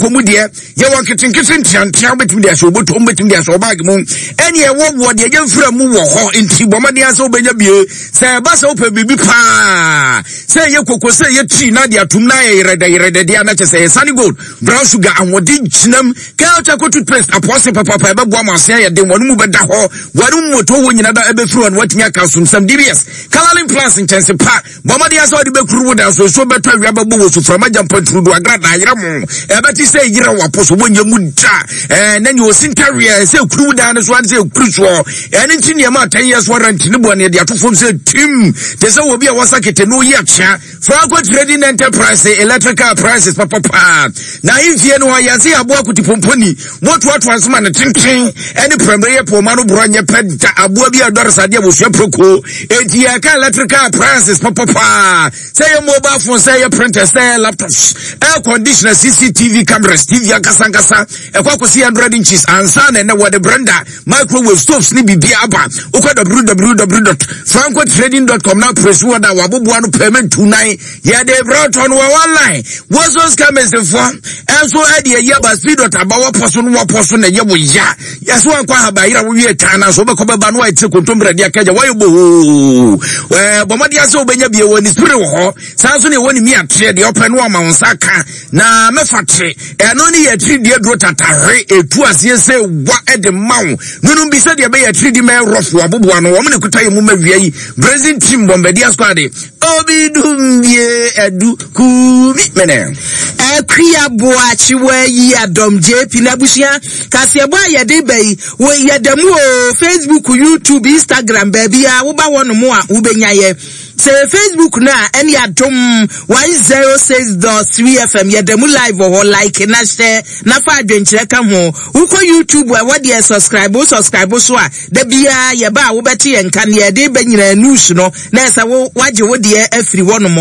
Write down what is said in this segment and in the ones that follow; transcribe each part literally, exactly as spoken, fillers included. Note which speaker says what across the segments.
Speaker 1: Konko mu deɛ, yɛwɔ nketenkete nteantea, wobɛtumi de ahyɛ obotom, wobɛtumi de ahyɛ ɔbag mu, ɛne ɛwɔ wɔ deɛ yɛmfira mu wɔ hɔ. Nti bɔ mmɔden sɛ wobɛnya bie. Sɛ ɛba sɛ wopɛ biribi paa, sɛ ɛyɛ koko, sɛ ɛyɛ tii na de atom na ayɛ yerɛdɛ yerɛdɛ deɛ, na kyɛ sɛ ɛyɛ Sunny Gold brown sugar, ahoɔden gyinam. Kel Charcoal toothpaste apɔse papapa, ɛbɛboa ma ase ayɛ den, wɔn mu bɛda hɔ, wɔn mu moto wɔ nyina da ɛbɛfiri hɔ no watumi aka asomsɛm. D B S Coloring Plus nkyɛnse pa, bɔ mmɔden sɛ wɔde bɛkuru wo dan so, nsuo bɛtɔ, awia bɛbɔ wɔ suframa gyampa turudu agrada ayerɛ mo, ɛbɛte sɛ yerɛ wapo so wɔnyɛ mu da. ɛɛ na nea osi ntareɛ sɛ ekuru wo dan no so ane sɛ ekuru soɔ. Ɛne nti nneɛma a ten years warranty ne bɔ ne de ato fam sɛ tim te sɛ obi a wɔsa kete no yi akyea. Franco Trading Enterprise, electrical appliances papapaa na ahemfie no hɔ yɛse aboa kotipomponi wɔtoatoa nsoma ne tenten ɛne prɛmmerɛ yɛ pɔma no borɔ nyɛ pɛ da aboa bi a ɛdɔre sadeɛ wɔsua proko. Enti yɛka electrical appliances papapaa, sɛ yɛ mobile phone, sɛ yɛ printer, sɛ yɛ laptops, air conditioner, C C T V cameras, T V ankasa ankasa ɛkɔ akɔsi hundred inches ansa na ɛnɛ wɔde blender, microwave, stoves ne biribi aba. Wokɔ W W W dot francotrading dot com na press wɔ da waboboa no pɛmɛ ntu nan yɛde brɛtɔ no wɔ online. Wɔso scammers-foɔ ɛnso ɛde ayi aba speed dot aba wɔpɔ so no, wɔpɔ so na ɛyɛ wo ya. Yɛsɛ wankɔ ahaba yera wowie taa na so wobɛkɔ bɛba no wayɛ tiri kontombrɛ de akagya wɔyɛ bohoo. Ɛɛ bɔ mmɔden sɛ wobɛnya bie wɔ ne spirit wɔ hɔ saa nso ne ɛwɔ ne mi ateɛ deɛ ɔpɛ no ama wo nsa ka na mɛfa tere. Ɛno ne yɛ tiri deɛ duro tatahwe ɛtu aseɛ sɛ wa ɛde ma wo nonom bi sɛdeɛ ɛbɛyɛ tiri di mɛ rɔfo aboboa no wɔn ne kuta yɛ mu ma wia yi Brazil team Bombardier squad obi dum bie ɛdu kumi mene.
Speaker 2: Akua Boakyewa yi adɔm J P n'abusua kaseɛbɔ a yɛde ba yi wɔ yɛda mu o, Facebook, YouTube, Instagram, baabi a woba hɔ nom a wobɛnya yɛ. Sɛ Facebook no a, ɛne Adom one zero six dot three F M, yɛda mu live wɔ hɔ. Like na hyɛ na fa adwenkyerɛ ka ho. Wokɔ YouTube a, ɛwɔ deɛ subscribe, wo subscribe so a, da biara yɛba a wobɛte yɛn nka neɛ yɛde bɛ nyinaa news no na ɛsɛ wo wagye wo deɛ afiri hɔ nom.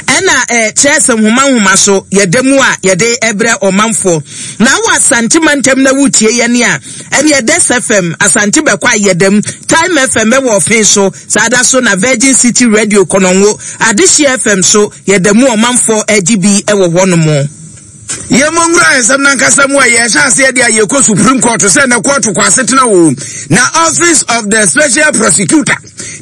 Speaker 2: Ɛna ɛɛ kyerɛ sɛ nhoma nhoma so yɛda mu a yɛde ɛbrɛ ɔmanfoɔ. Na wɔ Asante mantam na wotie yɛn a, ɛne Ɛdɛs F M Asante bɛkɔ a yɛda mu, Time F M ɛwɔ ɔfen so saa da so, na Virgin City Radio Kɔnɔngo, Adehye F M so yɛda mu, ɔmanfoɔ agye bi ɛwɔ hɔ nom.
Speaker 1: Yɛmmɔ nwura nsɛm nankasa mu a yɛhyɛ aseɛ de a yɛkɔ Supreme Court sɛ na court kɔ asetena wo na Office of the Special Prosecutor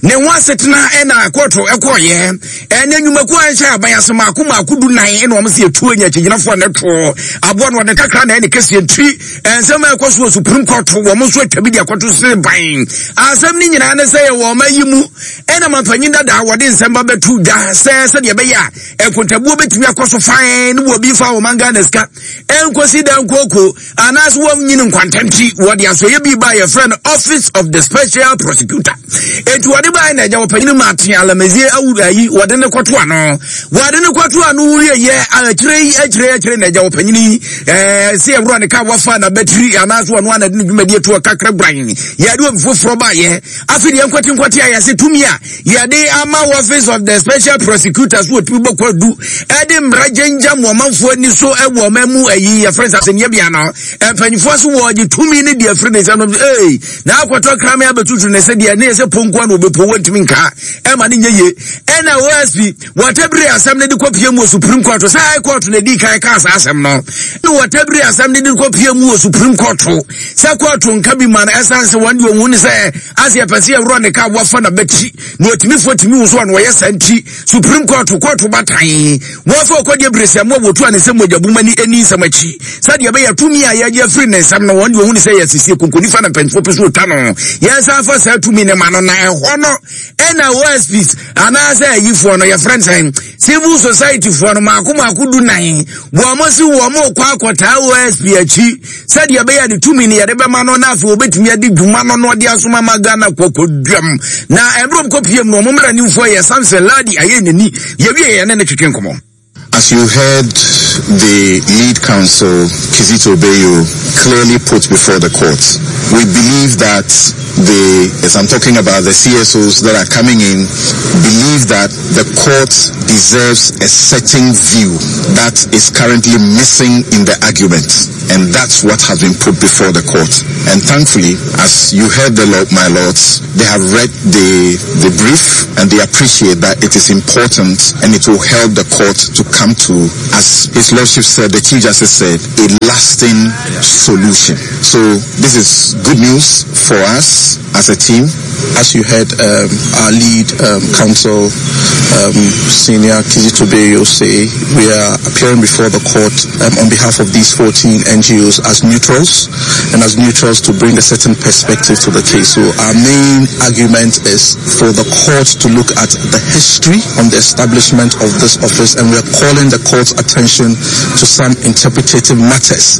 Speaker 1: ne ho asetena ɛna court ɛkɔɔyɛ. Ɛne nnwumakuo a ɛnhyɛ aban ase maako maako du nan ɛna wɔn sɛ yɛtuo nya akyigyinafoɔ ne toɔ aboa no wɔde kakra na ɛne kɛseɛ ntiri nsɛm a ɛkɔ so wɔ Supreme Court. Wɔn nso atwa bi de akɔto sere ban. Asɛm no nyinaa ne sɛ yɛwɔ ɔma yi mu ɛna mampanyin dada wɔde nsɛm ba bɛto dwa sɛ sɛdeɛ ɛbɛyɛ a nkontabuo bɛtumi akɔ so fan ne wɔ bi fa ɔman Ghana sika ɛnkosi da nkooko anaasɛ wɔnyini nkwantɛnti. Wɔde asɔyɛ bi ba yɛfrɛ no Office of the Special Prosecutor. Enti wɔde baa na agya wɔpanyin Martin Alamazie awu ayi wɔde ne kɔto ano wɔde ne kɔto ano wie yɛ akyire yi akyire akyire na agya wɔpanyin yi ɛɛ sɛ ɛwura ne ka wɔfa na bɛtiri anaasɛ wɔn ana de ne dwumadie to kakra guran yɛde obi foforɔ ba yɛ. Afei deɛ nkwati nkwati a yɛse tumi a yɛde ama Office of the Special Prosecutor so wɔtumi bɔ kwadu ɛde mmara gyengya mu ɔmanfoɔ ani so ɛwɔ ɔman mu ayi yɛfrɛ sɛ asɛnniɛ bea no mpanyinfoɔ so wɔgye tumi ne deɛ afiri ne nsɛm no ee na akɔtɔ krame abɛtutu ne sɛ deɛ ne yɛ sɛ ponkoa na obɛpo wɔntumi nka ɛma ne nyɛ yie. Ɛna O S P wɔtabiri asɛm no de kɔpie mu wɔ Supreme Court sɛ High Court na di kan kaa saa asɛm no ne wɔtabiri asɛm no de kɔpie mu wɔ Supreme Court sɛ court nka bi ma no, ɛsiane sɛ wɔn deɛ ɔhu ne sɛ ase yɛpɛ sɛ yɛworɔ ne ka wɔfa na bɛkyi na ɔtumi tumi wo so a na wɔyɛ saa nti Supreme Court court batan wɔfa ɔkɔdeɛ bere sɛ mo a wɔtu a ne nsɛm mogya ni ani nsɛm akyi sɛdeɛ ɛbɛyɛ tumi a yɛgye afiri ne nsɛm no, wɔn deɛ ɔhu ne sɛ yɛsiesie konkonifa na mpanyinfoɔ pɛ so ɔtwa no yɛnsa fa saa tumi ne ma no. Na ɛhɔ no ɛna O S Ps anaasɛ ayifoɔ no yɛfrɛ no sɛn, civil society foɔ no maako maako du nan wɔn mo si wɔn mo kɔ akɔtaa O S P akyi sɛdeɛ ɛbɛyɛ ne tumi no yɛde bɛma no na afei wɔbɛtumi adi dwuma no na ɔde asoma ma Ghana kɔkɔduam. Na ɛberɛ kɔ piem no, ɔmo mmaranimfoɔ yɛ Samson Ladi ayɛ n'ani yɛwie yɛne ne twetwe nkɔmmɔ.
Speaker 3: As you heard the lead counsel, Kizito Beyo, clearly put before the court, we believe that the, as I'm talking about the C S Os that are coming in, believe that the court deserves a certain view that is currently missing in the argument. And that's what has been put before the court. And thankfully, as you heard the law, my lords, they have read the, the brief and they appreciate that it is important and it will help the court to come to, as His Lordship said, the Chief Justice said, a lasting solution. So this is good news for us as a team.
Speaker 4: As you heard um, our lead um, counsel, um, Senior Kizito Beyo, say, we are appearing before the court um, on behalf of these fourteen N G Os as neutrals, and as neutrals to bring a certain perspective to the case. So our main argument is for the court to look at the history on the establishment of this office, and we are calling the court's attention to some interpretative matters.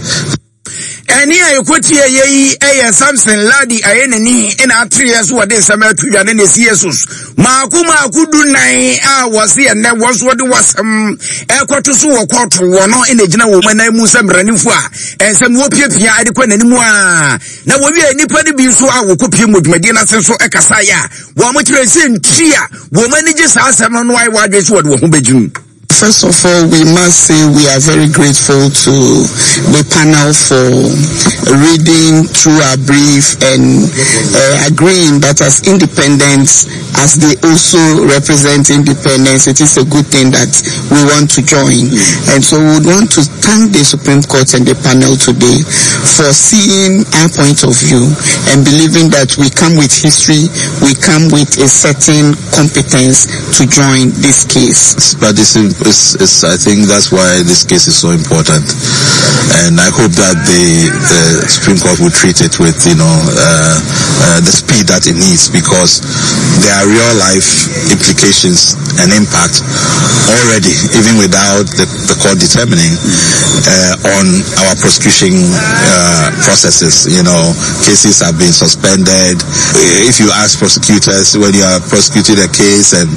Speaker 1: Ɛne a yɛkɔtie yɛ yi ɛyɛ Samson Lardy Anyenini ɛna atereɛ so wɔde nsɛm ato dwa ne ne C S Os maako maako du nan a wɔse ɛnɛ wɔn nso wɔde wɔsɛm ɛkɔto so wɔ kɔɔto wɔ no ɛna gyina wɔn anan mu sɛ mmaranimfo a ɛnsɛm wɔpiapia ɛde kɔ n'anim a na wɔwie nnipa no bi nso a wɔkɔpie mu dwumadie no ase nso ɛkasaeɛ a wɔn mo kyerɛ sɛ nti a wɔn ani gye saa asɛm no no ayɛ wɔadwene so wɔde wɔn ho bɛgyim.
Speaker 5: First of all, we must say we are very grateful to the panel for reading through our brief and uh, agreeing that as independents, as they also represent independence, it is a good thing that we want to join. And so we would want to thank the Supreme Court and the panel today for seeing our point of view and believing that we come with history, we come with a certain competence to join this case.
Speaker 3: But it's, it's, it's, I think that's why this case is so important. And I hope that the, the Supreme Court will treat it with, you know, uh, uh, the speed that it needs, because there are real life implications and impact already, even without the, the court determining uh, on our prosecution uh, processes. You know, cases have been suspended. If you ask prosecutors, when you are prosecuting a case and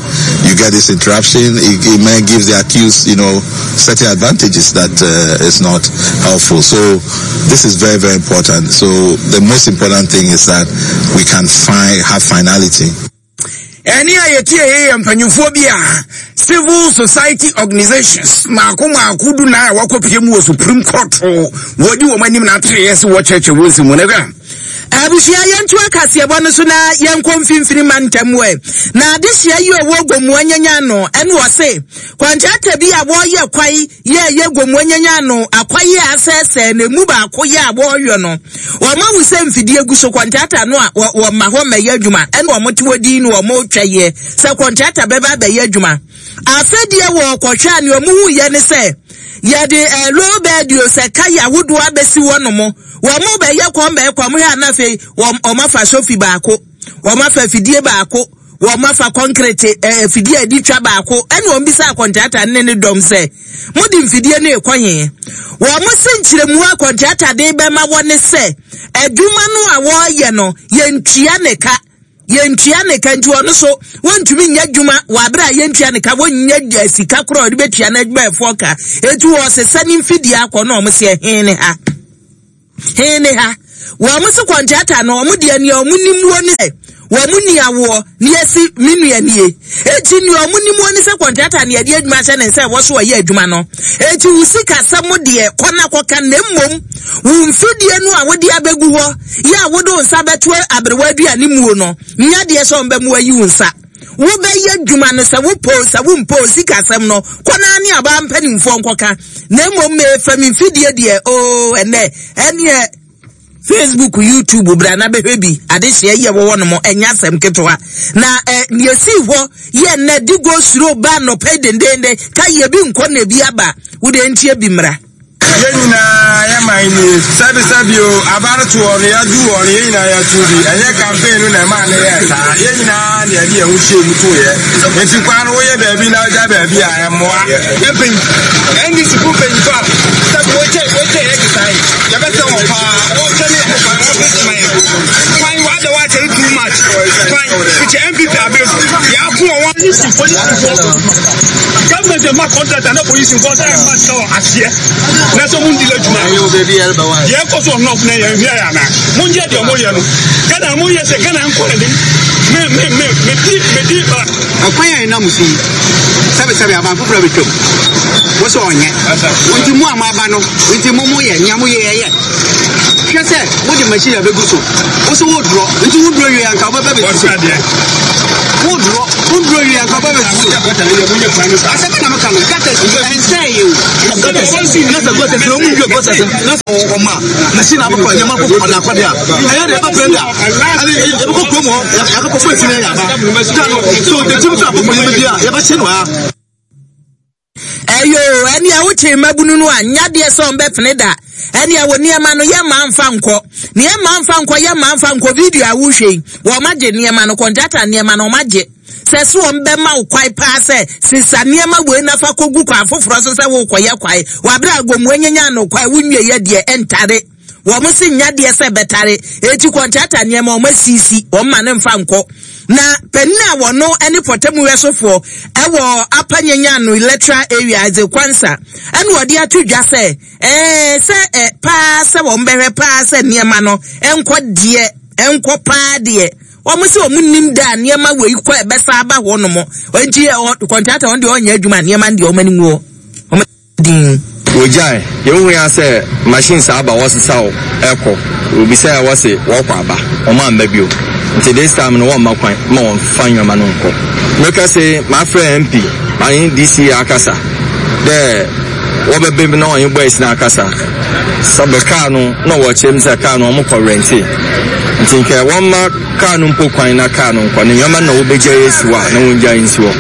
Speaker 3: you get this interruption, it, it may give the accused, you know, certain advantages that uh, is not helpful. So this is very, very important. So the most important thing is that we can find have finality.
Speaker 1: Ɛne a yɛtie yɛ yɛ mpanyinfoɔ bi a civil society organizations maako maako du nan a wɔakɔpie mu wɔ Supreme Court wɔdi wɔn anim na atereɛ sɛ wɔkyerɛkyerɛ wɔn nsɛm mu no hwɛ.
Speaker 2: Abusua, yɛnto akaseɛbɔ no so na yɛnkɔ mfimfini ma ntɛm ɛ na adehyia yi ɔwɔ Gomoa nyanya no ɛne ɔse kɔntrata bi a wɔreyɛ kwae yɛɛyɛ Gomoa nyanya no akwae a asɛesɛe na emu baako yɛ a wɔreyɔ no, wɔn ahu sɛ mfidie gu so. Kɔntrata no a wɔma hɔ mmɛyɛ adwuma ɛne wɔn te hɔ din no wɔn retwa yɛ sɛ kɔntrata bɛba abɛyɛ adwuma. Afɛdeɛ wɔ kɔhwɛ a nea wɔn hu yɛ ne sɛ yɛde ɛɛ low bed o sɛ kaya ahodoɔ abɛsi hɔ nom, wɔn mo bɛyɛ kɔn bɛyɛ kɔn mo hwɛ anafei wɔn wɔn afa sofi baako, wɔn afa fidie baako, wɔn afa concrete ɛɛ fidie a yɛde twa baako. Ɛna wɔn bisa akɔntrata ne ne dɔm sɛ mo de mfidie no ekɔ yɛn. Wɔn mo se nkyerɛmu akɔntrata de bɛma wɔn ne sɛ adwuma no a wɔreyɛ no, yɛntua ne ka, yɛntua ne ka, nti ɔno so wɔntumi nyɛ adwuma wɔ abere a yɛntua ne ka, wɔnyɛ sika korɔ a ɔde bɛtua n'adwumayɛfoɔ ka, etu wɔsesa ne mfidie akɔ. Na wɔn sɛ hɛn ne ha, hɛn ne ha? Wɔn se kɔntrata no, wɔn deɛ nea wɔn nim wɔ ne sɛ wɔn ni awoɔ ne yɛsi me nua nie, eti nea wɔn nim wɔ ne sɛ kɔntrata ne yɛde adwuma hyɛ ne nsa ɛwɔ so ɔyɛ adwuma no, eti wo sika sɛm deɛ kɔ na kɔka, na mmom wo mfidie no a wode abɛgu hɔ yɛ a wode wo nsa bɛto aberewa aduane muo no nya deɛ sɛ ɔmbɛ mu ayi wo nsa wobɛyɛ adwuma no sɛ wopɔ sɛ wompɔ, sika asɛm no kɔ naa ne abaa mpanimfoɔ nkɔka, na mmom mefa me mfidie deɛ oo. Ɛnɛ ɛneɛ Facebook, YouTube, bra na bɛhwɛ bi. Adehyeɛ yɛ wɔwɔ no mo ɛnyɛ asɛm ketewa na ɛ nea esi hɔ yɛ nnɛ di go suro ba nnɔpɛ dendenden ka yɛ bi nkɔ na ebi aba wode ntie bi mmra.
Speaker 6: Yɛn nyinaa yɛ man nie, sɛbisɛbi o, abaretoɔ no yɛadu wɔ no, yɛn nyinaa yɛto bi. Ɛnyɛ campaign no na ɛma ne yɛ saa. Yɛn nyinaa ne yɛde yɛn ho hyɛ mu to yɛ, nti kwan no woyɛ baabi na wogya baabi a ɛmmoa.
Speaker 7: Yɛmpɛn N D C fo mpanyinfo a sɛbi wɔkyɛ wɔkyɛ yɛ kesa yi, yɛbɛsɛ wɔn paa. Wɔkyɛ ne kwan wɔbɛsi ma yɛ kwan wɔada wɔakyɛ no too much kwan fikyɛ N P P abere so yɛako wɔn wɔn.
Speaker 8: Polisi polisifoɔ, government ma contract ana polisifoɔ sɛ ɛma sika wɔ aseɛ na sɛ mo ndi adwuma deɛ ɛkɔ so ɔnɔf na yɛn hwɛ yɛ ana mo nyɛ deɛ mo yɛ no Ghana mo yɛ sɛ Ghana nkɔ n'anim me me me me di me di.
Speaker 9: Ɛkwan a ɛnam so yi, sɛbesɛbe aban foforɔ bɛtwam wo sɛ ɔnyɛ nti mo a moaba no nti mo moyɛ nea moyɛ yɛyɛ hwɛ sɛ mode machine abɛgu so, wo so wodorɔ nti wodorɔ wie anka wobɛba bɛsi so. Wo duro, wo duro yi anka ba bɛ su. Asɛm na meka no, gutters ɛnsɛn yɛ o.
Speaker 7: Gutters, na sɛ gutters na ɔmu nwie gutters na sɛ ɔma machine abɛkɔ nneɛma kɔ ɔde akɔde a ɛyɛ de ɛbɛ brenda ɛne yɛbɛkɔ kurom hɔ yɛakɔkɔ fo esi na yɛ aba so the team so akɔkɔ yɛbɛ bi a yɛbɛhyɛ no ha.
Speaker 2: Ɛyo, ɛne a wokyee mmabunu no a nyadeɛ sɛ ɔmbɛpene da. Ɛne a wɔ nneɛma no yɛ mma mfa nkɔ. Ne yɛ mma mfa nkɔ, yɛ mma mfa nkɔ video a wohwɛ yi. Wɔn agye nneɛma no, kɔntrata nneɛma no wɔn agye. Sɛ so wɔn bɛma wo kwae paa sɛ sisa nneɛma wei nafa kɔgu kwan foforɔ so sɛ wokɔyɛ kwae. Wɔabrɛ agomu anyanya no kwae wonwie yɛ deɛ ɛntare. Wɔn si nyadeɛ sɛ bɛtare. Eti kɔntrata nneɛma wɔn asisi, wɔn ma ne mfa nkɔ. Na panin a wɔno ne pɔtamu wɛsofoɔ ɛwɔ apanyanya no electoral area adze kwansa ɛna wɔde ato dwa sɛ ɛɛ sɛ ɛ paa sɛ wɔn bɛhwɛ paa sɛ nneɛma no ɛnkɔ deɛ ɛnkɔ paa deɛ wɔn sɛ wɔn nim da nneɛma wei kɔ ɛbɛsa aba hɔ nom nti kɔntrata wɔn deɛ ɔnyɛ adwuma nneɛma deɛ wɔn anim wɔ wɔn din.
Speaker 6: Wogyae yɛhu ya sɛ machine saa aba wɔsesa wo ɛkɔ obi sɛ wɔse wɔkɔ aba wɔn amba bio nti this time no wɔn mma kwan ma wɔn fa nneɛma no nkɔ meka sɛ mafrɛ M P ane D C akasa dɛ wɔbɛbɛ bi na wɔn boys na akasa sɛ kaa no na wɔkyerɛ mu sɛ kaa no wɔn kɔ rente nti nkɛ wɔn ma kaa no mpo kwan na kaa no nkɔ ne nneɛma na wɔbɛgya yɛ si hɔ a na wɔn gya nsi hɔ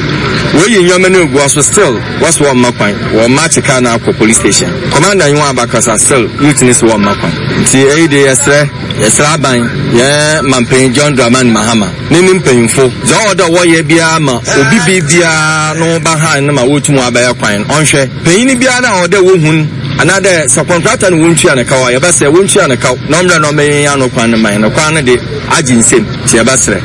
Speaker 6: wɔyi nneɛma no egu so still wɔso wɔn mma kwan wɔn match kaa no akɔ police station commander yi wɔn abakasa still youth ne so wɔn mma kwan nti eyi de yɛsrɛ yɛsrɛ aban yɛn mampanyin John Dramani Mahama ne ne mpanyinfo dza ɔwɔ dɛ wɔyɛ biara ma obi bi biara no ba ha no ma wɔtum abɛyɛ kwan ɔnhwɛ panyin biara na ɔwɔ dɛ wɔhun anaadɛ sɛ kɔntrata no wɔntua ne kaw a yɛbɛsrɛ wɔntua ne kaw na ɔmmerɛ na ɔmɛyɛ ano kwan no man no kwan no de agye nsam nti yɛbɛsrɛ.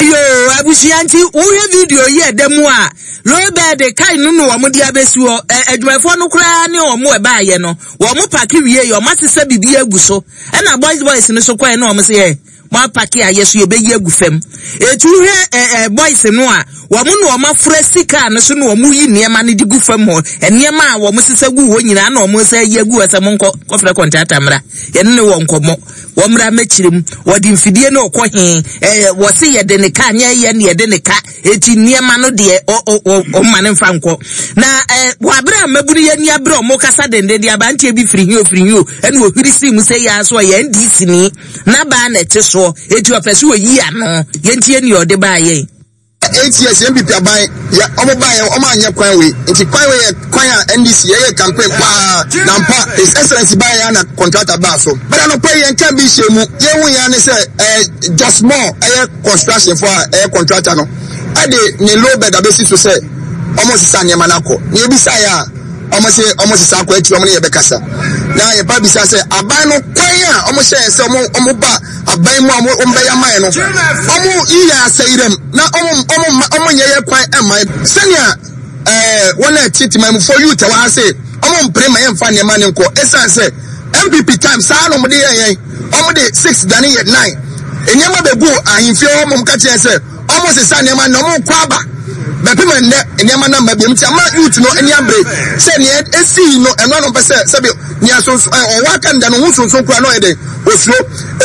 Speaker 2: Yo, abusua nti wohwɛ video yi ɛda mu a lowbed kai no no wɔn de abɛsi hɔ adwumayɛfoɔ no koraa ne wɔn ɛbaayɛ no wɔn paki wie yɛ wɔn asesa biribi agu so ɛna boys boys no so kɔɛ na wɔn sɛ yɛ mo apaki a yɛ so yɛbɛyi agu fam etu hwɛ ɛɛ boys no a wɔn na wɔn afura sika no so na wɔn yi nneɛma no de gu fam hɔ nneɛma a wɔn sesa gu hɔ nyinaa na wɔn sɛ yi agu hɔ sɛ mo nkɔ kɔfrɛ kɔntrata mmra yɛne ne wɔ nkɔmɔ wɔn mmra mɛkyerɛ mu wɔde mfidie no ɔkɔ he ɛɛ wɔsi yɛde ne ka nyɛ yɛ ne yɛde ne ka eti nneɛma no deɛ ɔ ɔ ɔma ne nfa nkɔ na ɛɛ wɔabere a mmabunu yɛ ni abere ɔmo kasa denden de abanteɛ bi firi hio firi hio ɛna ohwiri si mu sɛ yɛ aso yɛ N D C ni n'abaa na ɛte soɔ eti ɔpɛ so oyi ano yɛntie nea ɔde baa yɛn.
Speaker 10: Eight years N P P aban ya omo ba ye omo anya kwan we nti kwan we ye kwan a N D C ye campaign pa na mpa His Excellency ba ya na contractor ba so but no pay yen kan bi hye mu ye hu ya ne say eh just more eh construction for eh contractor no e de ne low bed abesi so say omo sisa niam na akọ na e bi sa ya omo se omo sisa akọ ati omo ne ye bekasa na ye pa bi sa say aban no kwan a omo hye say omo omo ba aban mu omo omo be ya man no omo iya asayirem na omo omo omo nye ye kwan e man senia eh wona titi man for you te wa say omo mpre man mfa ne man nko esan say M P P time saa no mo de yen omo de six dane ye nine enyema be go ahimfie omo ka che say omo sesa ne man no omo kwa ba be pe man ne enyema na ma bi mti ama youth no eni abre say ne esi no eno no pese se bi nya so o wa kan da no hu so so kura no e de osuro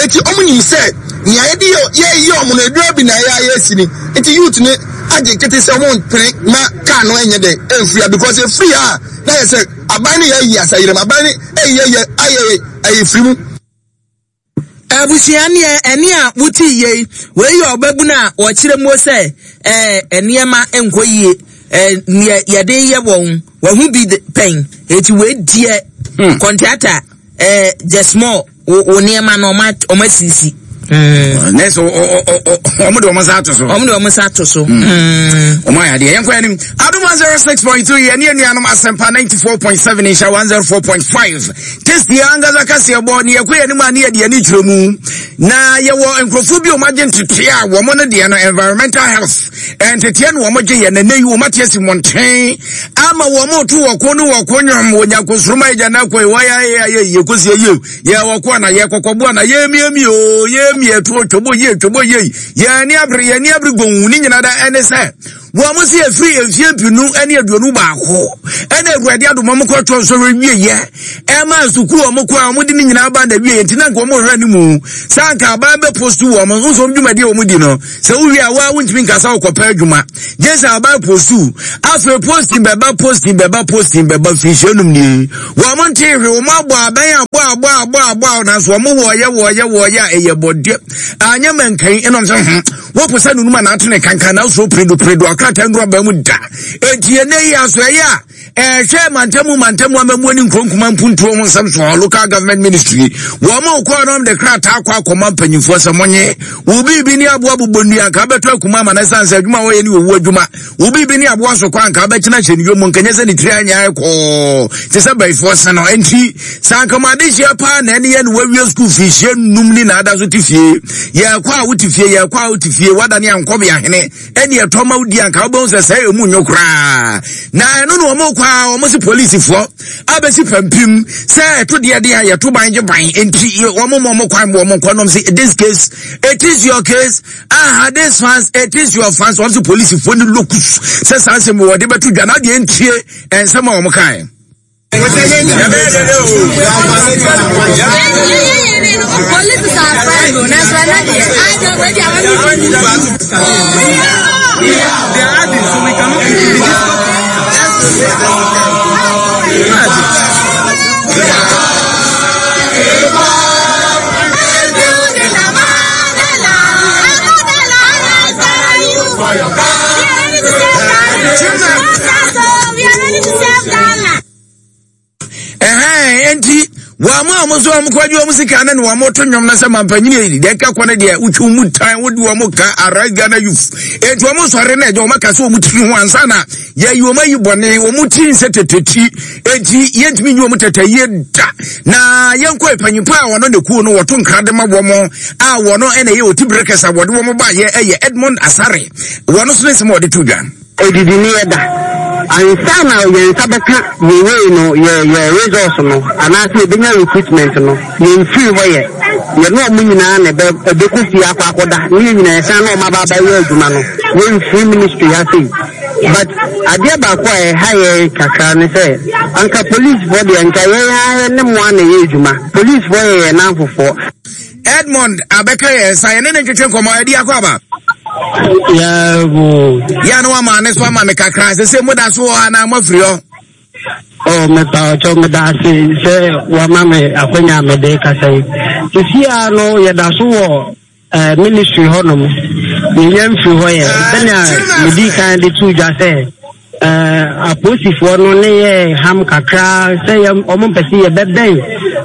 Speaker 10: eti omo ni say ni ayede ye ye omo no edura bi na ye aye si ni eti youth ni agye kete se omo mpere ma ka no enye de enfria because e free a na ye say aban ni ye yi asayire aban ni e ye ye aye aye free mu.
Speaker 2: Abusua ne ene a wuti ye we ye obabu na wo kire mo se eh eniema enko yie eh ye de ye won wo hu bi pen eti we die contractor eh just more wo niema no o ma sisi mm
Speaker 1: neso o o o mo de o mo sa to so
Speaker 2: o mo de o mo sa to so mm
Speaker 1: o ma ya de yenko anim Adom one oh six point three ye ne nuanom Asempa ninety-four point seven insha one oh four point five testi angaza kase bo ne yekɔ anim ani ye de ani kyerɛ na ye wo nkrofo bi o ma gye ntete a wo mo no de no environmental health entete no wo mo gye ye na nayi wo mate asi monten ama wo mo to wo ko no wo ko nwom wo nyankosroma agya na koi wo ya ye ye kosi ye ye wo ko na ye kokobo na ye miemi o ye Yɛm yɛ to twɔbɔ yie twɔbɔ yie. Yɛn ani abere yɛn ani abere gonwu ne nyinaa da ɛne sɛ wɔn mo si efiri mfie mpinu ɛne aduonu baako ɛna Awurade adom wɔn kɔ twɔ nsɔhwɛ wie yɛ ɛma sukuu wɔn kɔ a wɔn de ne nyinaa ba na wie yɛ nti na nka wɔn hwɛ ne mu saa nka aban bɛ post wɔn nso wɔn dwumadie wɔn di no sɛ wowie a waa wontumi nkasa wɔkɔpɛ adwuma gye sɛ aban post afei posting bɛba posting bɛba posting bɛba fihyɛ num nie wɔn nte hwɛ wɔn abɔ aban abɔ abɔ abɔ abɔ nanso wɔn wɔɔyɛ wɔɔyɛ wɔɔyɛ a ɛyɛ bɔdeɛ anyɛ mɛnkan ɛnam sɛ ho wɔpɔ sɛ nunum a n'ato ne kankan n'aso piredo piredo akrataa nnuro aba mu da eti ɛnɛ yi aso ɛyɛ a ɛhwɛ mantamu mantamu amamuo ne nkuronkuma mpuntuo ho nsɛm so local government ministry wɔn a wɔkɔ anam de krataa akɔ akɔma mpanyinfoɔ sɛ mɔnye obi bi ne aboa bobɔ nnua nka abɛtɔ akuma ama ne san sɛ adwuma a wɔyɛ ne owu adwuma obi bi ne aboa so kɔ anka abɛkyena hyɛ ne yom nkanyɛ sɛ ne tiri anyɛ ayɛ kɔɔ te sɛ bɛyifoɔ se no nti sɛ ankama adehyia paa na ɛne yɛ no wawie sukuu fihyia num ne na ada so te fie yɛkɔ a wote fie yɛkɔ a wote fie wadane ankɔbe ahene ɛne ɛtɔ ma wodi anka wobɛhu sɛ sɛ ɛmu nyo koraa na ɛno na wɔn kɔ a wɔn si polisifoɔ abɛsi pampim sɛ ɛto deɛ deɛ a yɛto ban gye ban nti wɔn mo wɔn kwan wɔn nkɔ nom sɛ this case it is your case aha this fans it is your fans wɔn si polisifoɔ ne locus sɛ saa nsɛm wɔde bɛto dwa na deɛ ntie nsɛm a wɔn kae. Enti wɔn a wɔn nso wɔn kɔgye wɔn sika ne wɔn to nnwom na sɛ mampanyini yi deɛ ɛka kɔ ne deɛ wotwi mu tan wodi wɔn ka Arise Ghana Youth enti wɔn sɔre na ɛgya wɔn aka sɛ wɔn tiri ho ansa na yɛyi wɔn ayi bɔne wɔn ti nsɛ tete ti enti yɛntumi nyi wɔn tete yie da na yɛnkɔ mpanyinfo a wɔn ne kuo no wɔto nkra de ma wɔn a wɔn ɛna ɛyɛ oti bere kɛse a wɔde wɔn ba yɛ ɛyɛ Edmond Asare wɔn nso ne nsɛm a wɔde to dwa.
Speaker 11: Edidi ni yɛ da ansa na yɛn nsa bɛka yɛwei no yɛ yɛ resource no anaasɛ yɛbɛnya recruitment no yɛmfiri hɔ yɛ yɛne ɔmo nyinaa na ɛbɛ ɛbɛkɔ fie akɔ akɔda ne yɛn nyinaa yɛsan na ɔmo aba abɛyɛ adwuma no yɛmfiri ministry ha sei but adeɛ baako a ɛha yɛn kakra ne sɛ anka policefoɔ deɛ nka yɛn ara ne mo a na ɛyɛ adwuma policefoɔ yɛ yɛn namfofoɔ.
Speaker 1: Edmond abɛka yɛn nsa yɛne ne ntwetwe nkɔmmɔ adi akɔ aba. Yɛ no ama ne so ama me kakra sɛ sɛ moda so hɔ anaa moafiri hɔ.
Speaker 11: Oh, mepa ɔkyɛw meda ase sɛ wama me akwanya a mede kasa yi. Sisi a no yɛda so wɔ eh, ministry hɔnom. Yɛnya mfiri hɔ yɛ sɛnea medi kan de too dwa sɛ eh, apolisifoɔ no ne yɛ ham kakra sɛ yɛ ɔmo mpɛ sɛ yɛbɛbɛn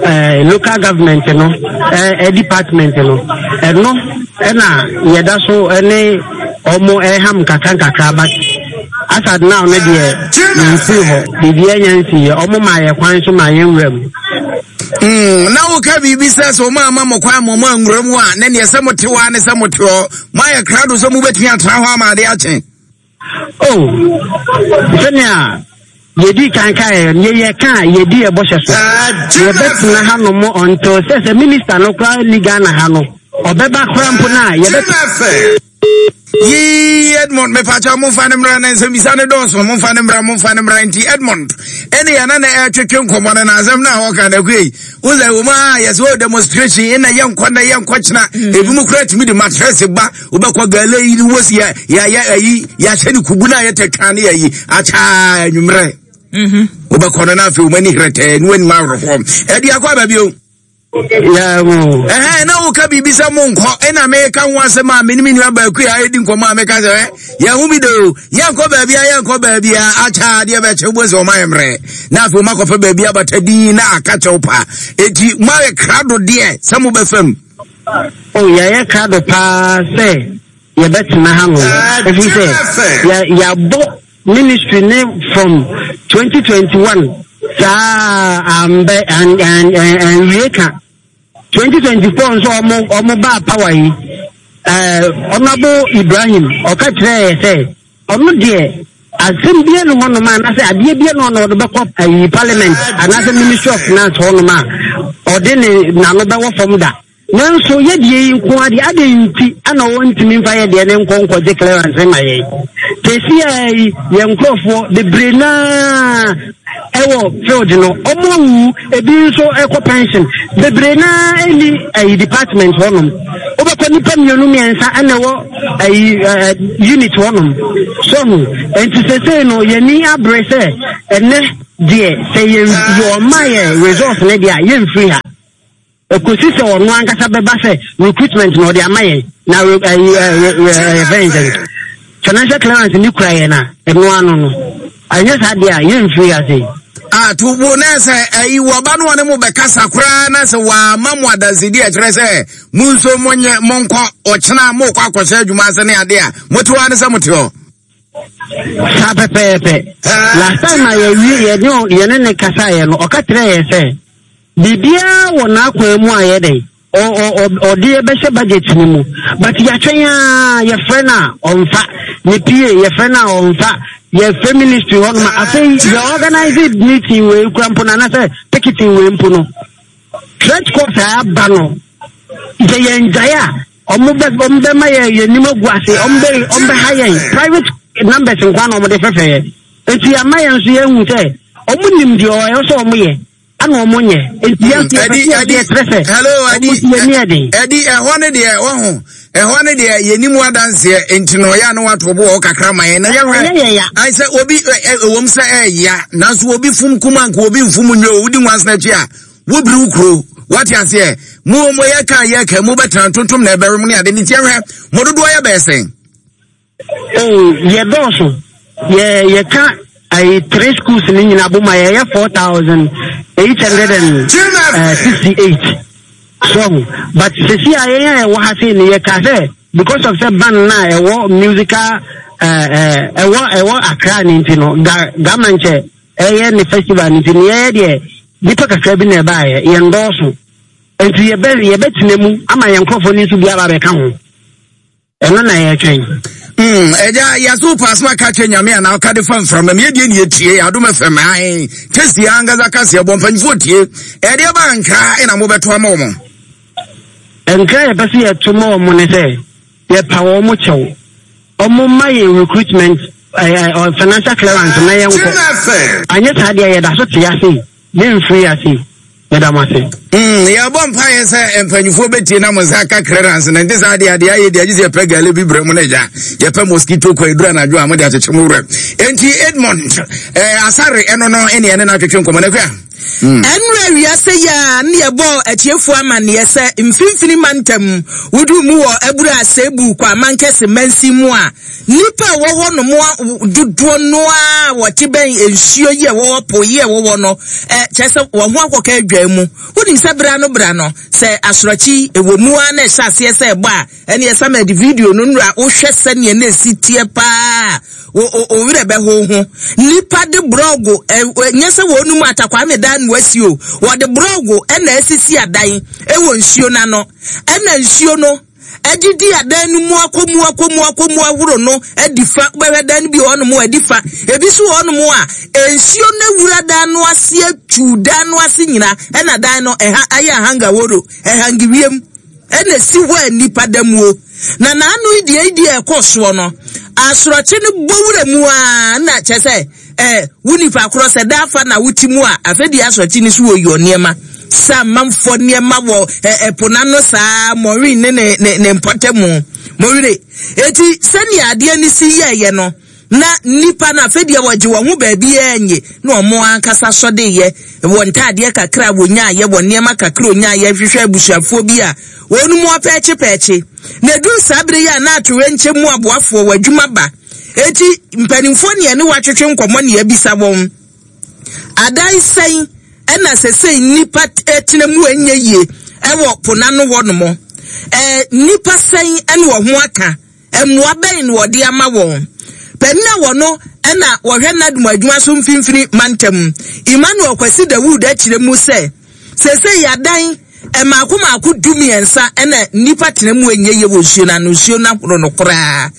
Speaker 11: eh, local government no eh, department no ɛno ɛna yɛda so ne ɔmo ɛham kakra nkakra but as at now no deɛ yɛmfiri hɔ biribiara nya nsiiɛ ɔmo ma yɛ kwan so ma yɛnwura mu.
Speaker 1: Mm, na woka biribi sɛ sɛ ɔma ama mo kwan ma ɔma nwura mu a na neɛ sɛ mote hɔ a ne sɛ mote hɔ moayɛ krado sɛ mobɛtumi atena hɔ ama ade akye.
Speaker 11: Oh, sɛnea yɛdi kan kaeɛ no yɛyɛ ka a yɛdi yɛ bɔhyɛ so yɛbɛtena ha nom until sɛ sɛ minister no koraa ni Ghana ha no ɔbɛba koraa mpo no a yɛbɛtena.
Speaker 1: Yii Edmond mepakyɛ momfa ne mmra na nsɛmbisa ne dɔɔso momfa ne mmra momfa ne mmra nti Edmond ɛne yɛna na ɛtwetwe nkɔmmɔ no na asɛm no a wɔka no akui wo sɛ wɔ mu a yɛsɛ wɔ demonstration ɛna yɛnkɔ na yɛnkɔ kyena ebi mu koraa tumi de matress ba wobɛkɔ gala yi ne wɔsi yɛ yɛayɛ ayi yɛahyɛ ne kubu no a yɛtɛ twa ne yɛyi akyaa anwummerɛ wobɛkɔ no na afei wɔn ani herɛtɛɛ ne wɔanim awerɛhoɔ ɛde akɔ aba bio. Ɛhɛn na woka biribi sɛ monkɔ ɛna meka ho asɛm a mene me nua baako a ɛdi nkɔmmɔ a meka sɛ ɛ yɛn ho bi de o yɛnkɔ baabi a yɛnkɔ baabi a akyɛ adeɛ bɛkyɛ wobɔ sɛ ɔma yɛ mmerɛ na afei ɔma kɔfɛ baabi abata din na aka kyɛw pa enti moayɛ krado deɛ sɛ mobɛfam.
Speaker 11: O yɛyɛ krado paa sɛ yɛbɛtena ha no ɛfiri sɛ yɛabɔ ministry ne from twenty twenty-one saa ambɛ anwie ka twenty twenty-four nso ɔmo ɔmo baa power yi ɛɛ Honourable Ibrahim ɔka kyerɛɛ yɛ sɛ ɔno deɛ asɛm bia ne hɔnom a anaasɛ adeɛ bia ne hɔ na ɔde bɛkɔ ayi parliament anaasɛ ministry of finance hɔnom a ɔde ne n'ano bɛwɔ fam da. Nanso yɛdeɛ yi nko adeɛ adɛn nti ana wɔntumi mfa yɛdeɛ ne nkɔ nkɔgye clearance ma yɛn? Sɛsi a yi yɛn nkurɔfoɔ bebree naa ɛwɔ field no, ɔmo awu, ebi nso ɛkɔ pension, bebree naa ɛni ɛyi department hɔnom. Wobɛkɔ, nipa mmienu mmiɛnsa ɛna ɛwɔ ɛyi ɛɛ unit hɔnom so ho. Nti sɛsɛyi no yɛni abere sɛ ɛnɛ deɛ, sɛ yɛn yɛ ɔma yɛ resource ne deɛ a, yɛmfiri ha ekosi sɛ ɔno ankasa bɛba sɛ recruitment na ɔde ama yɛn na ɛyi ɛɛ ɛɛ ɛfɛn sɛ financial clearance ni kura yɛn a, ɛno ano no ɛnyɛ saa deɛ a, yɛmfiri ha sei.
Speaker 1: A to wo na sɛ ɛyi wɔba no wɔne mo bɛkasa koraa na sɛ wɔama mo adansedi a ɛkyerɛ sɛ mo nso monyɛ monkɔ ɔkyena mokɔ akɔhyɛ adwuma ase ne ade a, mote hɔ ne sɛ mote hɔ.
Speaker 11: Saa pɛpɛɛpɛ. Last time a yɛwie yɛne yɛne ne kasaeɛ no, ɔka kyerɛ yɛ sɛ biribiara wɔ n'akwan mu a yɛdɛn ɔde yɛbɛhyɛ budget no mu, but yɛatwɛn a, yɛfrɛ no a ɔmfa ne pie, yɛfrɛ no a ɔmfa, yɛfrɛ ministry hɔ nom a, afei yɛ organize meeting wei kura mpo no anasɛ picketing wei mpo no, threat course a aba no sɛ yɛn gyae a, ɔmo bɛ ɔmo bɛma yɛ yɛn nim agu ase, ɔmo bɛ ɔmo bɛ ha yɛn private numbers nkwa na ɔmo de fɛfɛ yɛ. Nti ama yɛn nso yɛn hu sɛ ɔmo nim deɛ ɔyɛ sɛ ɔmo yɛ ana ɔmo nyɛ. Nti yɛn nso yɛ fɛ yɛ kyerɛ sɛ ɔmo si yɛn ni ɛden.
Speaker 1: Ɛdi ɛhɔ ne deɛ wɔho ɛhɔ ne deɛ yɛnim adanseɛ, nti na ɔyɛ ano wato bo wɔ kakra ma yɛn na yɛhwɛ ayi sɛ obi ɛwɔm sɛ ɛɛya, nanso obi fum kuma nka obi nfum nwe o wodi nwansena akyi a wobiri wo kuro, wate aseɛ? Mo mo yɛ ka yɛ ka mo bɛtena ntontom na ɛbɛrɛ mu ne ade ne tiɛ. Hwɛ, mo dodoɔ yɛ bɛyɛ sɛn?
Speaker 11: Oo, yɛ dɔɔso. Yɛ yɛka ayi three schools ne nyinaa bɔ mu a, yɛyɛ four thousand eight hundred and sixty eight so, but sisi a yɛn a yɛwɔ ha sei no, yɛka sɛ because of sɛ band na ɛwɔ musical ɛɛ ɛwɔ ɛwɔ Accra ne nti no, ga gama nkyɛ ɛyɛ ne festival ne nti no, yɛyɛ deɛ nipa kakra bi na ɛbaayɛ, yɛn dɔɔso, nti yɛbɛ yɛbɛtena mu ama yɛn nkurɔfoɔ no nso bi aba abɛka ho. Ɛno na yɛtwɛn.
Speaker 1: Ɛgya yɛso paasoma ka kyerɛ Nyame anaa ɔka de fa mframa mu, yɛdeɛ ne yɛtie Adom F M ae tɛsi ankasa kaseɛ bɔ mpanyimfoɔ tie. Ɛdeɛ ba nkra ɛna mobɛto ama wɔ mo?
Speaker 11: Nkra yɛpɛ sɛ yɛto ma wɔ mo ne sɛ yɛpa wɔ mo kyɛw, ɔmo ma yɛ recruitment ɛɛ financial clearance na yɛnkɔ. Anyɛ saa deɛ, yɛda so te ase, yɛmfiri ase. Yɛda mo ase.
Speaker 1: Mm, yɛbɔ mpaeɛ sɛ mpanyinfoɔ bɛtie na mo nsa aka clearance na nte saa adeɛ adeɛ ayɛ deɛ agye sɛ yɛpɛ gale bi brɛ mu no agya yɛpɛ mosquito kɔ ɛduru anadwo a mode akyekye mo werɛ. Enti Edmond eh, Asare ɛno no ɛne ɛne no atwetwe nkɔmmɔ no akua.
Speaker 2: Ɛnura wiase yi a ne yɛbɔ atiefoɔ amanneɛ sɛ Mfimfini Mantam wodu mu wɔ Abura Asebu kɔ Amankɛse mansin mu a, nnipa a wɔwɔ hɔ nom dodoɔ no a wɔte bɛn nsuo yi a wɔwɔ po yi a wɔwɔ no, ɛ kyerɛ sɛ wɔn ho akɔka adwa mu. Wonim sɛ bra no bra no sɛ asorɔkye ɛwɔ mu a na ɛhyɛ aseɛ sɛ ɛbɔ a, ɛne ɛsam ɛde video no nnura wohwɛ sɛneɛ na ɛsi teɛ paa, wo wo werɛ bɛho ho. Nipa de borɔgo, ɛ nyɛ sɛ wɔn mu atakwame dan no asi o, wɔde borɔgo ɛna asisi adan ɛwɔ nsuo n'ano, ɛna nsuo no adidi adan no mu akɔ mu akɔ mu akɔ mu ahoro no adi fa. Wobɛhwɛ dan no bi wɔ hɔnom a adi fa, ebi nso wɔ hɔnom a nsuo no awura dan no ase atu dan no ase nyina, ɛna dan no ɛha ayɛ ahangaworo ɛhangi wiem ɛna esi hɔ a nipa da muo. Na n'ano yi deɛ yi deɛ ɛkɔ soɔ no, asorɔkye no bɔ wura mu a, na kyerɛ sɛ ɛɛ wo nipa korɔ sɛ daafa na wote mu a, afɛ deɛ asorɔkye no so wɔ yɔ nneɛma sɛ amanfoɔ nneɛma wɔ ɛ ɛpo n'ano saa mɔrin ne ne ne ne mpɔtamu mɔwire. Eti sɛnea adeɛ no si yɛɛyɛ no na nipa no afɛ deɛ wɔgye wɔn ho baabi ɛnye na wɔn ankasa sɔde yɛ wɔ ntaadeɛ kakra a wɔnyaayɛ, wɔ nneɛma kakra onyaayɛ, hwehwɛ abusuafoɔ bi a wɔn mu apɛɛkye pɛɛkye. Na edu saa bere yi a na atorenkyɛ mu aboafoɔ wɔ adwuma ba, eti mpanimfoɔ ne ɛne wɔatwetwe nkɔmɔ ne abisa wɔn adan sɛn ɛna sɛsɛ nipa tena mu ɛnyɛ yie ɛwɔ po n'ano hɔ nom, ɛɛ nipa sɛn ɛna wɔn ho aka, mmoa bɛn na wɔde ama wɔn. Panin a wɔno ɛna wɔhwɛ NADMO adwuma so Mfimfini Mantam, Emmanuel Kwasi Dawood, akyerɛ mu sɛ sɛsɛ yadan Mmaako mmaako du mmiɛnsa ɛna nnipa tena mu enye yie wɔ nsuo no ano, nsuo no ahoro no koraa.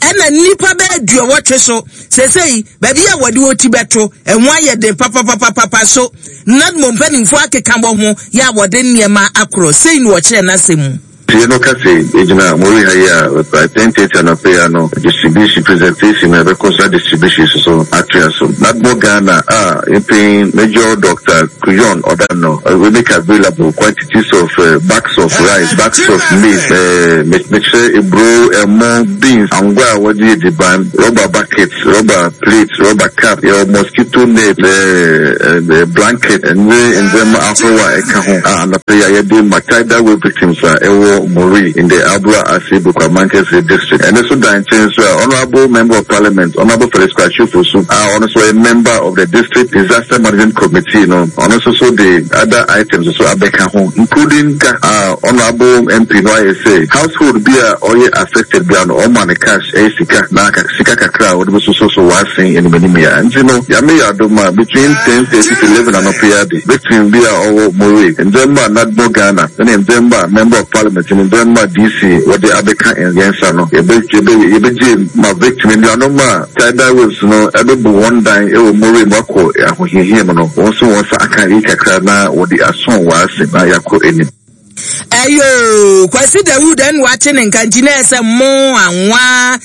Speaker 2: Ɛna nnipa bɛyɛ aduɔwɔtwe so seesei baabi a wɔde wɔn ti bɛto ɛho ayɛ den papapapapa so. NADMO mpanimfoɔ akeka bɔ ho yɛ a wɔde nneɛma akorɔ sei na wɔkyerɛ n'asɛm mu.
Speaker 12: Tie no ka se, Yɛgyina Mori ha yi a, by ten thirty anɔpa yi ano, distribution presentation na ɛbɛkɔ so na distribution nso so atoa so. NADMO Ghana a yɛn Major Doctor Kuyon ɔda no, we make available quantities of uh, bags of rice, bags of maize, uh, mekyerɛ eburo, ɛmo, beans, angwa a wɔde yɛ diban, rubber buckets, rubber plates, rubber cap, yɛwɔ mosquito net, uh, uh, blanket, ɛne ndzɛmba ahorow a ɛka ho a anɔpa yi a yɛde ma tidal wave victims a ɛwɔ Mori in the Abura Ase Bukwamankese district. Ɛno nso da nkyɛn nso a Honourable Member of Parliament, Honourable Felix Kwakye Ofosu a ɔno nso ɔyɛ member of the District Disaster Management Committee no, ɔno nso so de other items nso abɛka ho, including ka a Honourable M P no ayɛ sɛ household bi a ɔyɛ affected bia no, ɔma no cash, ɛyɛ sika na sika kakra a wɔde bɛsoso so wɔasen anim anim yɛ. Nti no, Nyame yɛ adom a, between ten thirty to eleven anɔpa yi ade, victim bi a ɔwɔ Mori, ndzɛmba a NADMO Ghana ne ndzɛmba a Member of Parliament ne ndzɛmba D C wɔde abɛka yɛn nsa no, yɛbɛgye ma victim nnuanom a tidal waves no ɛbɛbu wɔn dan wɔ Mori mu akɔ ahohiahia mu no, wɔn nso wɔn nsa aka yi kakra na wɔde asɔn wɔn ase na yɛakɔ anim.
Speaker 2: Ɛyo Kwasi Dawud ɛna wate ne nka nti na ɛsɛ mo anwa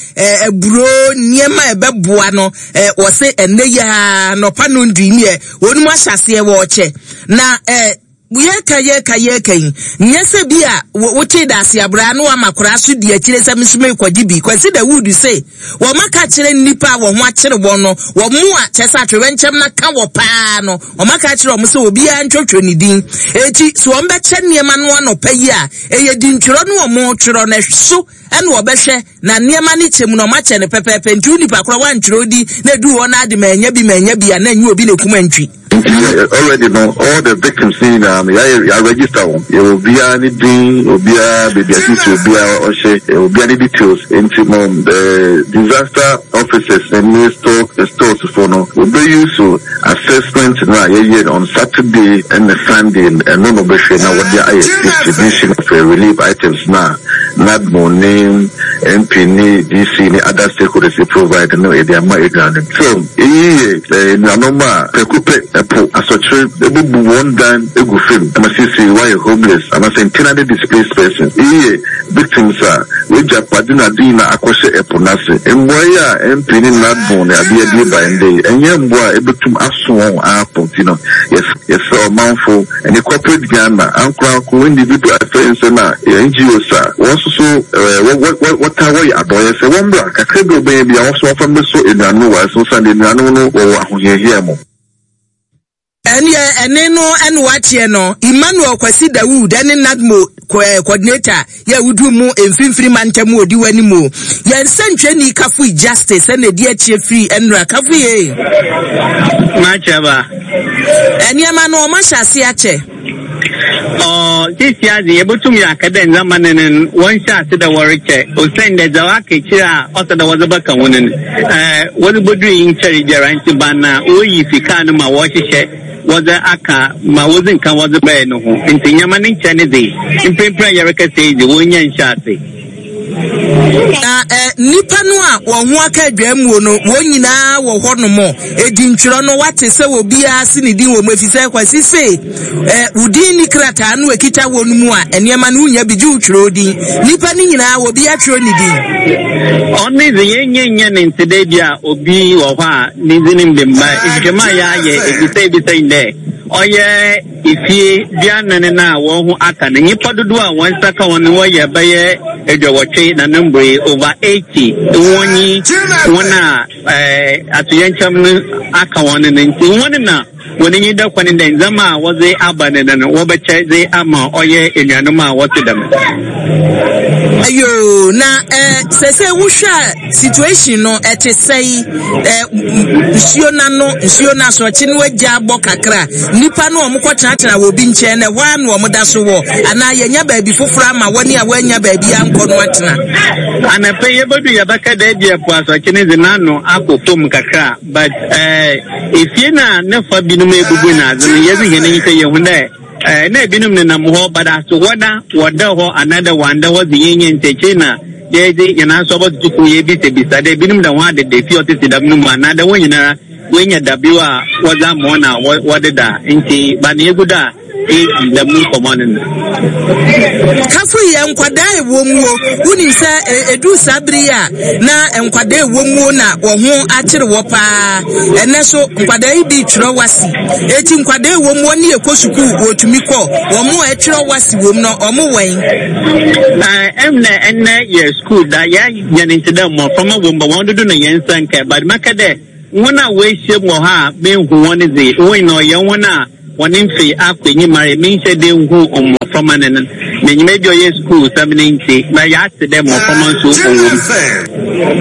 Speaker 2: aburo nneɛma a ɛbɛboa no ɛ wɔse ɛnɛ yi a nɔpa no ndu neɛ wɔn mu ahyɛ aseɛ wɔɔkyɛ na ɛ yɛka yɛka yɛka yi nyɛ sɛ bi a wote da ase abraa no ama koraa so di akyire sɛ nso mekɔgye bi. Kwasi Dawud se wɔn aka kyerɛ nnipa a wɔn ho akyere wɔn no, wɔn mu a kyɛ sɛ atwerɛnkyɛm na ka wɔ paa no, wɔn aka kyerɛ wɔn sɛ obiara ntwotwo ne din. Eti so wɔn bɛkyɛ nneɛma no anɔpa yi a ɛyɛ dintwerɛ no wɔn twerɛ no so ɛna wɔbɛhwɛ na nneɛma no kyɛ mu na wɔn akyɛ no pɛpɛɛpɛ. Nti onipa korɔ wantwerɛ di na edu hɔ na ade ma ɛnya bi ma ɛnya bi a na ɛnyɛ obi na ekum antwi.
Speaker 12: Nti already no, all the victims ni nyinaa no, yɛayɛ yɛ register wɔn. Yɛwɔ obiara ne din, obiara baabi a sisi obiara ɔhyɛ, obiara ne details. Nti no, the disaster officers ne store stores fo no, obeyi so assessment no a yɛyɛ on Saturday ɛne Sunday, ɛno no bɛhwɛ na wɔde ayɛ distribution of relief items na NADMO ne M P ne D C ne other stakeholders provide no, yɛde ama aduane. So eyi yɛ nnuanom a prɛko pɛ ɛpo asɔkyerɛ ebubu wɔn dan egu fam ama sisi wɔayɛ homeless anaasɛ internally displaced persons. Eyi yɛ victims a wɔagya pade na ade nyinaa akɔhyɛ ɛpo n'ase. Mboa yi a M P ne NADMO ne adeɛ de ba ndɛ yi, ɛnyɛ mboa a ebetum aso wɔn apo. Ti no, yɛsrɛ ɔmanfo ɛne corporate Ghana, ankoranko, individual afɛ nsɛm a N G Os a wɔn nso so ɛɛ wɔ wɔta wɔyɛ adɔyɛ sɛ wɔn mbra kakra bi a ɔbɛyɛ bi a wɔn nso wɔfa mbɛso nnuanom wɔ ɛso san de nnuanom no wɔwɔ ahohiahia mu.
Speaker 2: Ɛneɛ ɛne no ɛne wateɛ no, Emmanuel Kwasi Dawood ɛne NADMO coordinator yɛ wudu mu mfimfini mantam odi w'anim o. Yɛn nsɛntwerɛni Kafui Justice ɛna edi akyire firi ɛnura. Kafui ye.
Speaker 13: Makyɛba.
Speaker 2: Nneɛma no ɔmo ahyɛ ase akyɛ.
Speaker 13: Ɔ sisi adze yɛbɛtum yɛ aka dɛ ndzɛmba no no wɔnhyɛ ase dɛ wɔrekyɛ, osiane dɛ dza waka akyire a ɔsɛ dɛ wɔdze bɛka ho no no ɛɛ wɔdze bɔduru yi nkyɛre biara. Nti ban na wɔyi sika no ma wɔhyehyɛ wɔdze aka ma wɔdze nka wɔdze bɛyɛ no ho. Nti nneɛma no nkyɛn ne dze mprempren a yɛrekasa yi dze, wɔnya nhyɛ ase.
Speaker 2: Na ɛ nipa no a wɔn ho aka adwamuo no, wɔn nyinaa wɔ hɔnom edi ntwerɛ no, wate sɛ obiara si ne din wɔ mu, efisɛ Kwasi se ɛ wodin ni krataa no ekita wɔn mu a nneɛma no wunya bi gye wotwerɛ odin. Nipa no nyinaa obi atwerɛ ne din.
Speaker 13: Ɔne dze yɛnyɛ nyɛ ne nte dɛ bi a obi wɔ hɔ a ne dzin mbɛ mba. Nhwehwɛmu a yɛayɛ ebisa ebisa yi dɛ ɔyɛ efie duanan no a wɔn ho aka no, nyimpa dodoɔ a wɔn nsa ka wɔn no wɔyɛ bɛyɛ aduɔwɔtwe na ne mbere over eighty wɔnyi wɔn a ɛɛ atoyɛnkyɛm no aka wɔn no. Nti wɔn na wɔn enyi da kwan dɛ ndzɛmba a wɔdze aba no no wɔbɛkyɛ dze ama ɔyɛ enuanom a wɔte dɛm.
Speaker 2: Ayo, na ɛ sɛsɛ wohwɛ a, situation no ɛte sɛyi? Ɛ nsuo n'ano, nsuo n'asorɔkye no agya abɔ kakra, nipa no wɔn kɔ tenatena wɔ obi nkyɛn na ɛhɔ ara na wɔn da so wɔ, anaa yɛnya baabi foforɔ ama wɔne a wɔanya baabi ankɔ no atena?
Speaker 13: Anapɛ yɛbɛdu yɛbɛka dɛ bi ɛpo asɔkye no dze n'ano akɔ fam kakra, but ɛɛ efie na ne fa binom ebubu n'adze no, yɛdze hɛn enyi sɛ yɛhu dɛ Eh, na ebinom nenam hɔ but as to whether wɔda hɔ anaadɛ wɔanda hɔ dze yɛnyɛ nkyɛkyɛ na yɛdze yɛn aso abɔtoto fo yɛbisabisa dɛ ebinom da ho adeda fie ɔtete dɛm no mu anaadɛ wɔn nyinara wɔanya dabew a wɔdze ama wɔn a wɔdeda nti ba na egu do a yɛdi dɛm nkɔmmɔ no no.
Speaker 2: Kafo yɛ nkwadaa ɛwɔ muo wonim sɛ ɛduru saa bere yi a na nkwadaa ɛwɔ muo na wɔn ho akyere wɔ paa ɛnɛ so nkwadaa yi bi twerɛ wasi eti nkwadaa ɛwɔ muo ne yɛkɔ sukuu wɔtumi kɔ wɔn mo a ɛtwerɛ wasi wɔm no wɔn wɛn.
Speaker 13: Ɛnɛ ɛnɛ yɛ sukuu da yɛ yɛn nti dɛ mmɔframma wɔ mu ba wɔn dodo na yɛn nsa nka but mɛka dɛ wɔn a wɔahyia mu wɔ hɔ a mehu wɔn dze wɔn nyinaa ɔyɛ wɔn a wɔn mfe akɔ enyim ara menhyɛ dɛ nhu mmɔframma no no menyim ebi ɔyɛ sukuu sɛm ne nti na yɛate dɛ mmɔframma nso wɔ mu.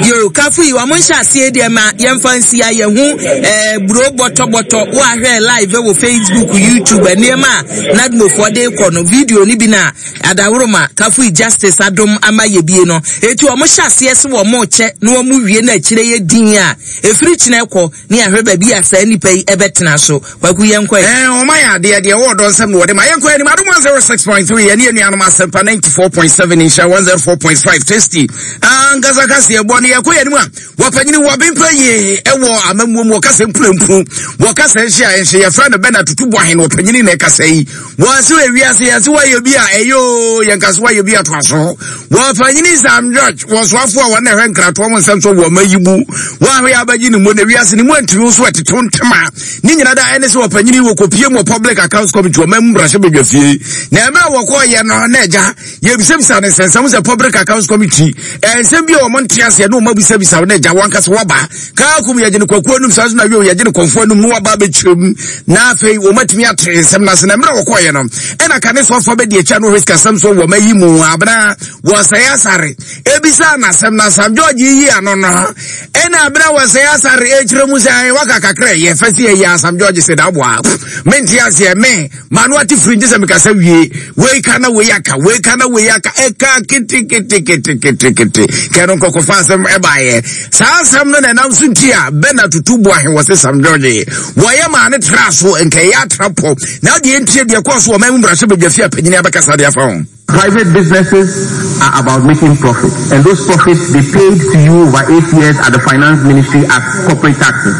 Speaker 2: Yo kafo yi wɔn nhyɛ aseɛ deɛ ma yɛmfa nsi a yɛhu ɛɛ buro bɔtɔbɔtɔ wo ahwɛ live wɔ Facebook, YouTube nneɛma a nadmofoɔ de kɔ no video no bi na adaworoma kafo yi justice adom ama yɛ bie no eti wɔn hyɛ aseɛ sɛ wɔn kyɛ na wɔn wie na akyire yɛ din a efiri kyinɛ kɔ ne ahwɛ baabi a saa nipa yi ɛbɛtena so. Kwaku yɛn kɔ yɛ.
Speaker 1: Ɛɛ ɔma yɛ adeɛ deɛ ɛwɔ ɔdɔ nsɛm na wɔde ma yɛn kɔ anim Adom one zero six point three yɛne yɛn nuanom Asɛmpa ninety four point seven Nhyira one zero four point five Tasty ankasa kaseɛ bɔ no yɛkɔ yɛn anim a wɔpanyini wɔbempa yie ɛwɔ amammuo mu wɔkasa mpurampu wɔkasa nhyɛ a nhyɛ yɛfrɛ no bɛna tutu bɔ ahen wɔpanyini na ɛkasa yi wɔase wɔ wiase yɛse wɔayɛ bi a ɛyɛ o yɛnka so wɔayɛ bi atoa so wɔpanyini Sam George wɔsoafoɔ a wɔn na ɛhwɛ nkratoɔ mo nsɛm so wɔ ma yi mu wɔahwɛ abɛgye ne mu na wiase ne mu antumi so ɛteto ntoma ne nyina da ɛne sɛ wɔpanyini wɔkɔpie mu wɔ Public Accounts Committee ɔma mu mmarahyɛ badwa fie na ɛmɛ a wɔkɔɔyɛ no na agya yɛbisabisa ne nsɛnsɛm sɛ Public Accounts Committee ɛnsɛm bi a wɔn nte aseɛ na wɔn abisabisa na agya wɔn ankasa wɔba kaa kum yɛgye ne kwakuo anum saa nso na wio yɛgye ne kɔnfoɔ anum na wɔaba abɛkyerɛ mu na afei wɔn atumi ate nsɛm no ase na mmerɛ wɔkɔɔyɛ no ɛna kane soafoɔ bɛdi akyi a na wɔhwɛ sikasɛm so wɔ ma yi mu abena wɔsɛe asare ebisa n'asɛm na Sam George yi ano no ɛna abena wɔsɛe asare ekyerɛ mu sɛ waka kakra yɛ fɛ si ɛyɛ Sam George sɛ daboa mente aseɛ me ma no ate firi nti sɛ mekasa wie wei ka na wei aka wei ka na wei aka ɛka keteketeketekete kɛ no nkɔkɔfa asɛm ɛbaeɛ saa asɛm no na ɛnam so nti a bɛna tutu bu ahe wɔ se Sam George wɔyɛ maa ne tra so nkɛyɛ atra pɔ na deɛ ntie deɛ kɔɔ so wɔ ma mu mmarahyɛ badwa fie a panyini abɛkasa de afa ho.
Speaker 14: Private businesses are about making profits, and those profits they paid to you over eight years at the finance ministry as corporate taxes.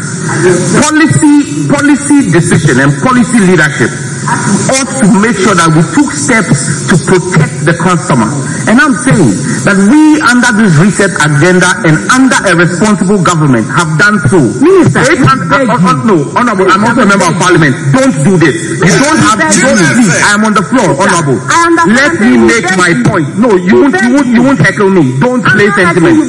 Speaker 14: Policy, policy decision and policy leadership ought to make sure that we took steps to protect the customer. And I'm saying that we, under this reset agenda and under a responsible government, have done so.
Speaker 11: Minister,
Speaker 14: Eight hundred, uh, uh, no, Honorable, I'm also a member of parliament. Don't do this. You don't have to. Don't, please, I am on the floor, Honorable. Let me make my point. No, you won't, you won't, you won't heckle me. Don't play sentiment.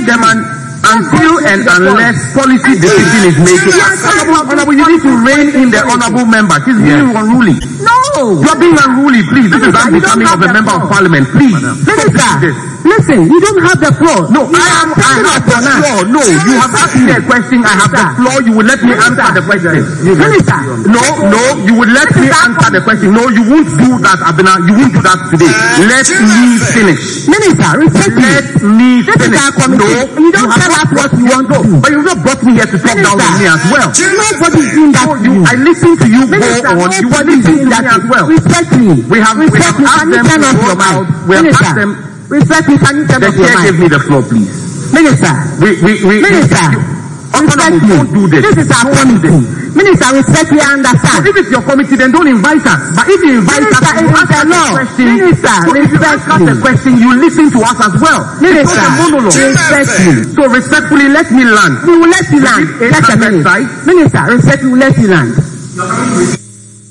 Speaker 14: Chairman, until and unless policy decision is made, Honorable, Honorable, you need to rein in the honorable member. She's being unruly.
Speaker 11: No.
Speaker 14: You are being unruly, please. This is unbecoming of a member of parliament. Please.
Speaker 11: Minister, listen, you don't have the floor.
Speaker 14: No, I am. I have the floor. No, you have asked me a question. I have the floor. You will let me answer the question.
Speaker 11: Minister.
Speaker 14: No, no, you will let me answer the question. No, you won't do that, Abena. You won't do that today. Let me finish.
Speaker 11: Minister, respect me.
Speaker 14: Let me
Speaker 11: This
Speaker 14: finish.
Speaker 11: is our committee.
Speaker 14: No,
Speaker 11: You don't
Speaker 14: have
Speaker 11: tell
Speaker 14: not
Speaker 11: us what you want to do.
Speaker 14: But you've not brought me here to talk down on me as well.
Speaker 11: Nobody's doing that
Speaker 14: No,
Speaker 11: to
Speaker 14: you,
Speaker 11: you.
Speaker 14: I listen to you
Speaker 11: Minister,
Speaker 14: go on. You
Speaker 11: nobody's
Speaker 14: listen
Speaker 11: doing
Speaker 14: to
Speaker 11: that
Speaker 14: me
Speaker 11: to
Speaker 14: as well.
Speaker 11: Respect me.
Speaker 14: We have- we
Speaker 11: Respect
Speaker 14: have
Speaker 11: me.
Speaker 14: asked
Speaker 11: Can you
Speaker 14: them
Speaker 11: turn
Speaker 14: to
Speaker 11: off
Speaker 14: go
Speaker 11: your mic?
Speaker 14: out. We have
Speaker 11: Minister,
Speaker 14: asked them.
Speaker 11: respect me. Can you turn
Speaker 14: The
Speaker 11: off your
Speaker 14: chair
Speaker 11: mic?
Speaker 14: gave me the floor, please.
Speaker 11: Minister.
Speaker 14: We, we, we,
Speaker 11: Minister.
Speaker 14: you, Honorable,
Speaker 11: Respect me.
Speaker 14: don't do this.
Speaker 11: This is our
Speaker 14: Don't do
Speaker 11: committee.
Speaker 14: this.
Speaker 11: Minister, respect me, I understand.
Speaker 14: So if it's your committee, then don't invite us. But if you invite
Speaker 11: Minister,
Speaker 14: us, you
Speaker 11: it is
Speaker 14: ask
Speaker 11: the
Speaker 14: us a
Speaker 11: law.
Speaker 14: question.
Speaker 11: Minister,
Speaker 14: so if you
Speaker 11: respect
Speaker 14: ask us
Speaker 11: me.
Speaker 14: a question, you listen to us as well.
Speaker 11: Minister,
Speaker 14: it's not a monologue.
Speaker 11: respect me.
Speaker 14: So respectfully, let me land.
Speaker 11: We will let you land.
Speaker 14: Eight
Speaker 11: Just a
Speaker 14: hundred
Speaker 11: minute.
Speaker 14: sites.
Speaker 11: Minister, respect me, we will let you land.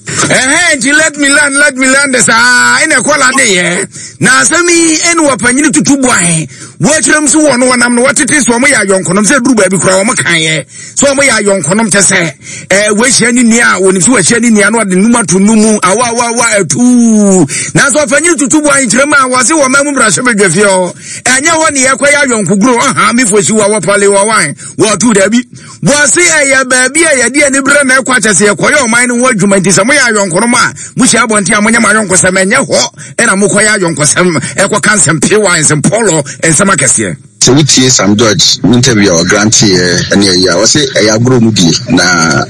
Speaker 1: Ɛhɛn nti let me land, let me land saa ɛna ɛkɔ lande yɛ na asɛm yi ɛne wɔpanyini tutu bu ahe wɔakyerɛ m so wɔ no wɔnam no wɔtete so ɔmo yɛ ayɔnkonom sɛ duru baabi koraa ɔmo kaeɛ sɛ ɔmo yɛ ayɔnkonom kyɛ sɛ ɛɛ wɔahyia ne nua a wɔnim sɛ wɔahyia ne nua no ɔde num ato no mu awa awa awa atuu nanso ɔpanyini tutu bu ahe kyerɛ mu a wɔse wɔ ma mu mmarahyɛ badwa fie hɔ ɛnyɛ hɔ ne yɛkɔyɛ ayɔnkoguro ɔha mefo si wɔ wɔpale wɔ wan wɔto daabi wɔse ɛyɛ baabi a yɛde ani berɛ na ɛkɔ akyɛ sɛ yɛkɔyɛ ɔman no ho adwuma nti sɛ moyɛ ayɔnkonom a mohyia abɔnten a monyɛ mo ayɔnkosɛm ɛnyɛ hɔ ɛna mokɔyɛ ayɔnkosɛm ɛkɔka nsɛm pewa nsɛm pɔlɔ nsɛm akɛseɛ.
Speaker 15: Sɛ wotie Sam George interview a ɔgranteeɛ ne ayi a, ɔse ɛyɛ agorɔ mu bie na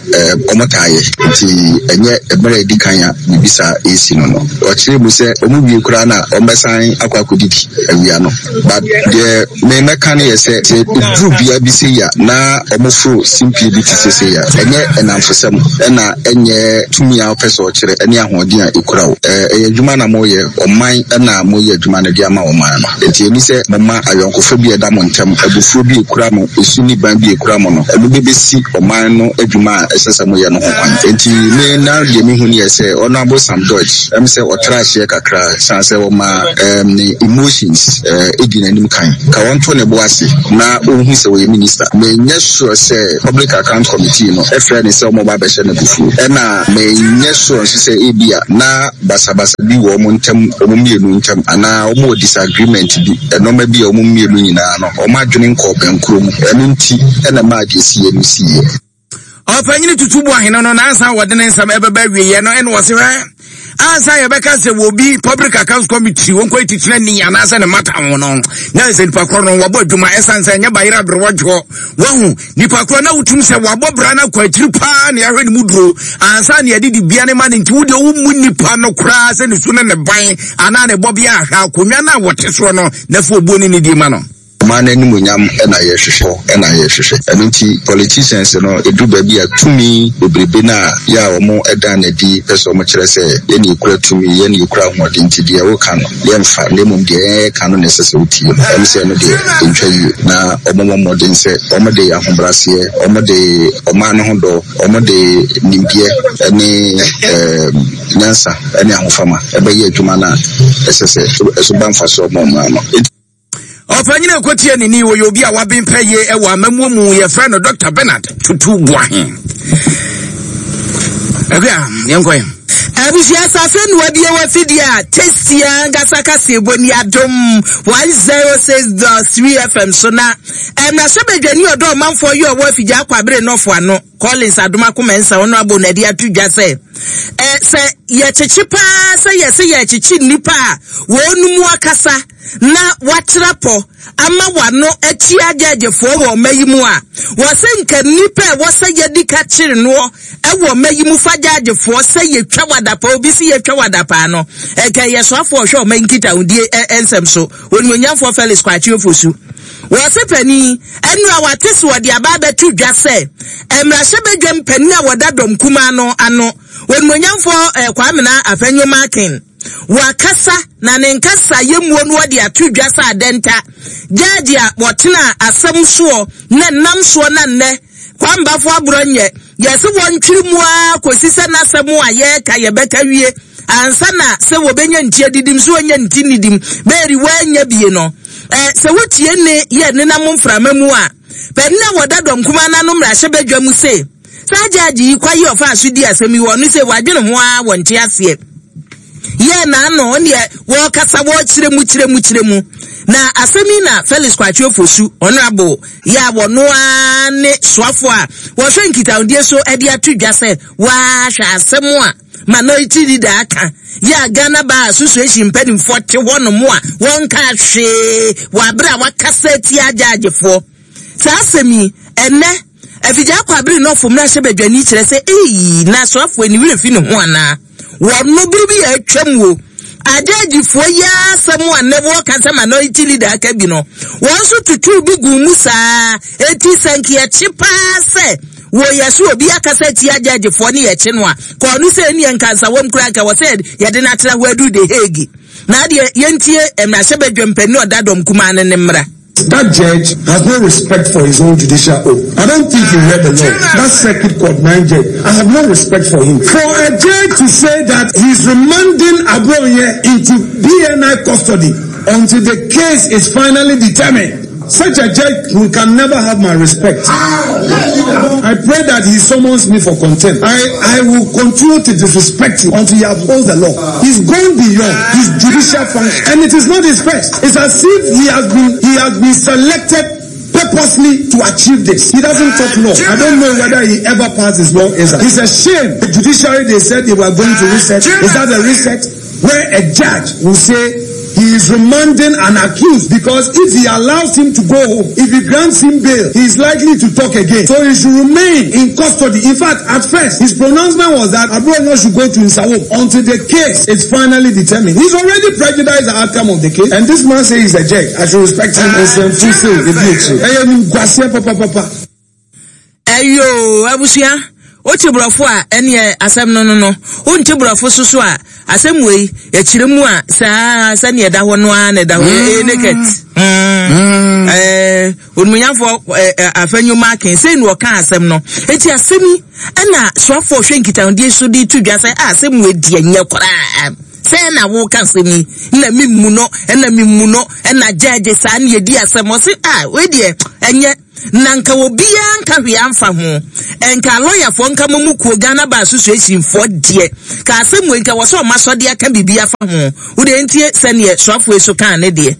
Speaker 15: wɔn taa yɛ, nti ɛnyɛ mmerɛ a ɛdi kan a biribi saa ɛresi no no. Ɔkyerɛɛ mu sɛ wɔn wie koraa no a wɔbɛsan akɔ akɔdidi awia no. But deɛ me mɛka no yɛ sɛ, sɛ ɛduru bea bi sei a na wɔforo simpie bi te sɛ sei a, ɛnyɛ nnamfosɛm ɛna ɛnyɛ tumi a wopɛ sɛ ɔkyerɛ ne ahoɔden a ɛkura wo. Ɛyɛ adwuma na moreyɛ, ɔman na moreyɛ adwuma no de ama ɔman no. Enti ɛnni sɛ moma ayɔnkofa bi a ɛda mo ntam, abufuo bi a ɛkura mo, esu ne ban bi a ɛkura mo no, ɛno bɛbɛsi ɔman no adwuma a ɛsɛ sɛ moyɛ no ho kwan. Enti me na deɛ mehu no yɛ sɛ Honourable Sam George, ɛm sɛ ɔtra aseɛ kakra, ɛsiane sɛ ɔma ɛɛm ne emotions ɛɛ di n'anim kan. Ka ɔnto ne bo ase na ɔnhu sɛ ɔyɛ minister. Menyɛ sure sɛ Public Account Committee no frɛɛ no sɛ wɔreba abɛhyɛ no abufuo. Ɛna menyɛ sure nso sɛ ebia na basabasa bi wɔ wɔn ntam, wɔn mmienu ntam, anaa wɔwɔ disagreement bi, nnoɔma bi a wɔn mmienu nyinaa no, wɔn adwene nkɔɔ bɛnkorɔ mu. Ɛno nti na ɛmaa deɛ ɛsiiɛ no siiɛ.
Speaker 1: Ɔpanyin Tutu Boahene no nansa wɔde ne nsɛm ɛbɛba awieɛ no ɛna ɔse hwɛ ansa yɛbɛka sɛ wɔbi Public Accounts Committee wɔn kɔ titire ni anaasɛ ne mata ho no na sɛ nipa korɔ no wɔbɔ adwuma ɛsan sɛ ɛnyɛ bayerɛ aberɛwɔdwoɔ wahu nipa korɔ na wotum sɛ wabɔ bra no akɔ akyiri paa na yɛahwɛ ne mu duro ansa na yɛde dibea ne ma no nti wodeɛ wommu nipa no koraa sɛ ne su ne ne ban anaa ne bɔbea ahwɛ akonnwa no a wɔte soɔ no na fa obuo ne ne die ma no.
Speaker 15: Ɔman no animuonyam na yɛhwehwɛ na yɛhwehwɛ. Ɛno nti politicians no ɛduru baabi a tumi bebrebe no a yɛ a wɔn dan no adi pɛ sɛ wɔn kyerɛ sɛ yɛn na yɛkura tumi, yɛn na yɛkura ahoɔden nti deɛ woka no yɛmfa na mmom deɛ yɛn yɛka no na ɛsɛ sɛ wotie no. Ɛm sɛ ɛno deɛ ɛntwa yie na wɔn mmɔ mmɔden sɛ wɔn de ahobraseɛ, wɔn de ɔman no ho dɔ, wɔn de nimdeɛ ne ɛɛm nyansa ne ahofama ɛbɛyɛ adwuma no a ɛsɛ sɛ ɛso ba mfasoɔ ma ɔman no.
Speaker 1: Ɔpanyin a ɛkɔtie ne ni wɔyɛ obi a waben pɛ yie wɔ amammuo mu, yɛfrɛ no Doctor Bernard Tutu Boahen. Ɛhwɛ a yɛnkɔ yɛn.
Speaker 2: Abusua safe noa bi wɔ afidie a tasty ankasa kaseɛbɔ ni Adom one zero six dot three F M so na mmarahyɛbadwani ɔdɔ ɔmanfoɔ yi ɔwɔ afidie akwabere nɔfo ano Collins Adomako Mensah ɔno abɔ n'adi ato dwa sɛ ɛ sɛ yɛkyekye paa sɛ yɛsɛ yɛkyekye nnipa a wɔn mu akasa na wɔatra pɔ ama w'ano atua gyɛɛgyefoɔ wɔ ɔma yi mu a, wɔsɛ nka nnipa a ɛwɔ sɛ yɛdi ka kyere noɔ wɔ ɔma yi mu fa gyɛɛgyefoɔ sɛ yɛtwa wadapaa, obi sɛ yɛtwa wadapaa no, ɛka yɛ soafoɔ ɔhwɛ ɔma yi nkitahodie nsɛm so, Onimuonyamfoɔ Felix Kwakye Ofosu. Wɔse panin, ɛno a wate so wɔde aba abɛto dwa sɛ mmarahyɛbadwam panin a wɔda dɔm kumaa no ano, Onimuonyamfoɔ Kwamena Afenyo Markin, Wakasa na ne nkasaeɛ no ɔde ato dwa sɛ adɛnta gyaagye a wɔtena asɛm soɔ na nam soɔ na nnɛ Kwambafo aborɔ nyɛ yɛse wɔntwiri mu ara kɔsi sɛ n'asɛm a yɛreka yɛbɛka wie ansa na sɛ wɔbɛnya nti adidim so wɔnya nti nidim bɛɛri wɔanya bie no ɛ sɛ wotie ne yɛ nenam mframa mu a panin a wɔda dɔm kumaa n'ano mmarahyɛbadwa mu se saa gyaagye yi kwaye ɔfa so di asɛm yi wɔ no sɛ wadwene ho ara wɔnte aseɛ yɛ n'ano neɛ wɔkasa wɔkyerɛ mu kyerɛ mu kyerɛ mu na asɛm yi na Felix Kwakye Ofosu honorable yɛ a wɔno ara ne soafo a wɔhwɛ nkitahodie so de ato dwa sɛ wɔahwɛ asɛm a minority leader aka yɛ a Ghana Bar Association mpanimfoɔ te hɔ nom a wɔnka hwee wɔ abere a wakasa atia agyaagyefoɔ saa asɛm yi ɛnɛ afigya akɔ abere nɔfo mmarahyɛbadwani kyerɛ sɛ eyi na soafoɔ ani werɛ fi ne ho anaa wɔno bere bi yɛ atwam wo agyaagyefoɔ yi asɛm a ne wɔka sɛ minority leader aka bi no wɔn nso tutu bi gu mu saa eti sɛ nkeɛkye paa sɛ wɔyɛ so obi akasa tia agyaagyefoɔ ne yɛkye no a kɔɔ no sɛ ɛni nkansa wɔm kura nka wɔ sɛ yɛde no atena hɔ aduru de Hague na adeɛ yɛntie mmarahyɛbadwam panin ɔda dɔm kumaa no ne mmara.
Speaker 16: That judge has no respect for his own judicial oath. I don't think he read the law. That circuit court nine judge, I have no respect for him. For a judge to say that he's remanding Abronye into B N I custody until the case is finally determined, such a judge who can never have my respect. I pray that he summons me for contempt. I, I will continue to disrespect him until he upholds the law. He's gone beyond his judicial function. And it is not his first. It's as if he has been, he has been selected purposely to achieve this. He doesn't talk law. I don't know whether he ever passed his law. It's a shame. The judiciary, they said they were going to reset. Is that a reset? Where a judge will say He is remanding an accused because if he allows him to go home, if he grants him bail, he is likely to talk again. So he should remain in custody. In fact, at first, his pronouncement was that Abronye should go to Nsawam until the case is finally determined. He's already prejudiced the outcome of the case, and this man says he's a judge. I should respect him.
Speaker 2: Eyo, abusua, wote brofo a ene asem no no no. Wonte brofo soso a asem wei ya kiremu a saa sa ne da ho no a ne da ho e naked. Mm. Eh, onmunyafo afanyu marking sei no ka asem no. Enti asem yi na soafo hwe nkitahodie so di tudwa sɛ asem we die nye kora. Sɛ na wo ka asem yi na mimmu no na mimmu no na judge saa ne di asem o se ah we die enye na nka obi anka hwe amfa ho enka lawyer fo nka momukuo Ghana Bar Association fo de ka asem we nka wo so masode aka bibia fa ho wo de ntie sɛ ne soafo eso kan ne de.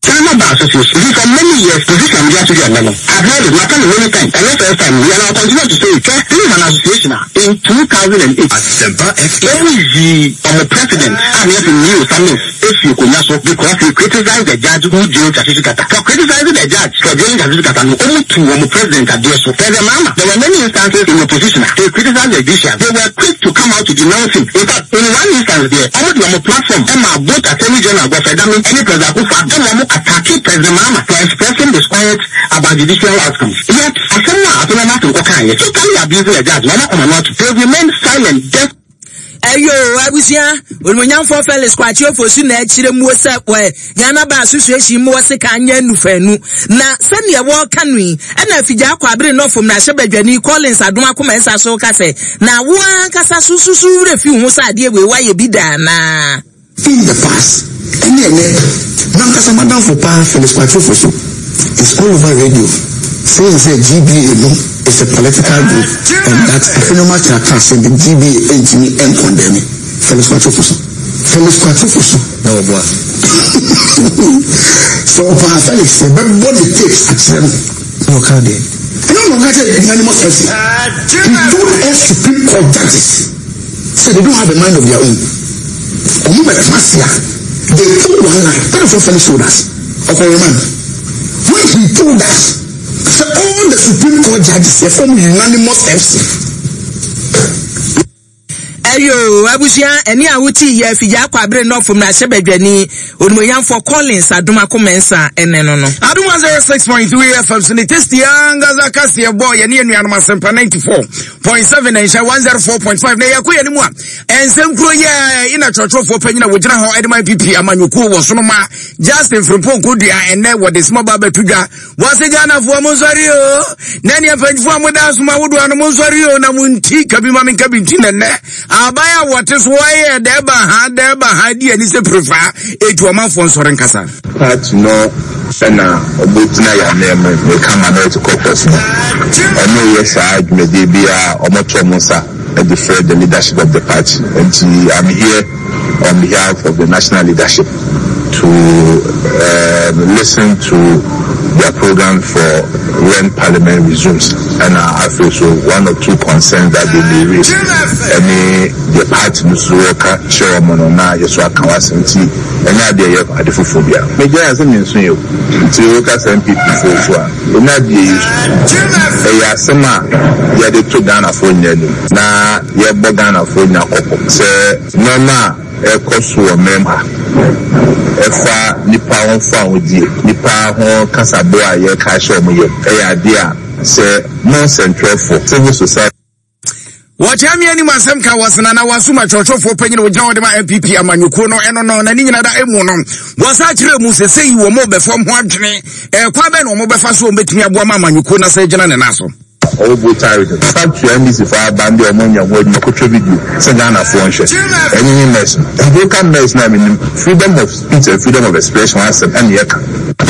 Speaker 17: Ghana Bar Association, for many years, position we are together. I've heard it, not many times, and not first time. We are now continue to say it. This is an association in two thousand eight. Every on the president, and yes, knew something. If you could not so, because he criticized the judge who jailed Justice Kata. For criticizing the judge for jailing Justice Kata, only two on the president at so. President Mama, there were many instances in opposition. They criticized the judiciary. They were quick to come out to denounce him. In fact, in one instance there, on the platform, Emma, both Attorney General Godfrey Dame, any President Kufa, Emma attacking President Mahama for expressing disquiet about judicial outcomes. Yet, Asema Asema Okanye totally abusing the judge. They remain silent. Deaf.
Speaker 2: Eyo abusia onmunyamfo Felix Kwakye Ofosu na akire mu se we Ghana Bar Association mu se ka anya nufanu na se ne wo ka nu e na afija akwa abere no fom na hyebadwani Collins Adom akoma ensa so ka se na wo ankasa sususu wure fi hu sa ade we wa ye bi da na
Speaker 18: in the past. Any any nankasa madam for pa Felix Kwakye Ofosu is all over radio saying say G B A no is a political group and that Afenyo Markin say the G B A ntimi en condemn Felix Kwakye Ofosu. Felix Kwakye Ofosu
Speaker 15: na oboa.
Speaker 18: So pa Felix say but body tapes at them
Speaker 15: no can dey.
Speaker 18: No no no unanimous person. He told us Supreme Court judges say they don't have a mind of their own. They told one line. That is what Felix told us. Okay, man. When he told us, so all the Supreme Court judges they form unanimous F C.
Speaker 2: Ayo, abusia, eni awuti ye fija akwa abere no fom na hyebadwani onumunyamfo Collins Adom akomensa ene no no.
Speaker 1: Adom one oh six point three F M so ne testi angaza kase boy ye ne anuanom asempa ninety-four point seven and one oh four point five na yakɔ ye ne mu a ensem kuro ye ina chorchorfo panyina wo gyina ho Edman P P amanyɔkuo wɔ so no ma Justin Frimpong Kodua ene wɔ de small baba tudwa wɔ se Ghana fo mo nsɔre o na ne panyifo mo da so ma wodo no mo nsɔre o na mo nti kabi ma me nkabi nti nene abaya wɔte so wɔyɛ dɛba ha dɛba ha di ani sɛ prefa etu ɔmanfoɔ nsɔre nkasa.
Speaker 3: Party no ɛna ɔbɛgyina yɛ anam meka minority caucus no ɔno yɛ saa dwumadie bi a ɔmɔto ɔmo nsa ɛde frɛ the leadership of the party. Nti I'm here on behalf of the national leadership to um, listen to their program for when parliament resumes, and I feel so one or two concerns that they may raise. Any the party worker chairman na yeso aka wasemti any idea ye adefophobia. Meja asem nso yo. Nti workers M P P fo so a na die yesu. E ya asem a ye de to Ghana fo nya nim. Na ye bo Ghana fo nya koko. Se noma e koso o mem ha. Efa nipa ho fa odie nipa ho kasabo a ye ka hye omo ye e ya de a se non central for civil society.
Speaker 1: Wɔkyɛ anim asɛm ka wɔsena na wasoma kyerɛkyerɛfoɔ panyin wɔgyina wɔde ma N P P amanyɔkuo no ɛno no na ne nyina da emu no wɔsa kyerɛ mu sɛ sɛ yi wɔ mo bɛfam ho adwene ɛkwan bɛn na wɔn bɛfa so wɔn bɛtumi aboa ma amanyɔkuo na sɛ gyina ne nan so.
Speaker 3: Ɔwɔ tired. Fact to N D C for abande ɔmo nya ho adwuma kɔtwa video sɛ Ghana fo nhwɛ. Ɛnyɛ ne mess no. Nka mess na menim freedom of speech and freedom of expression asɛm ɛne yɛka.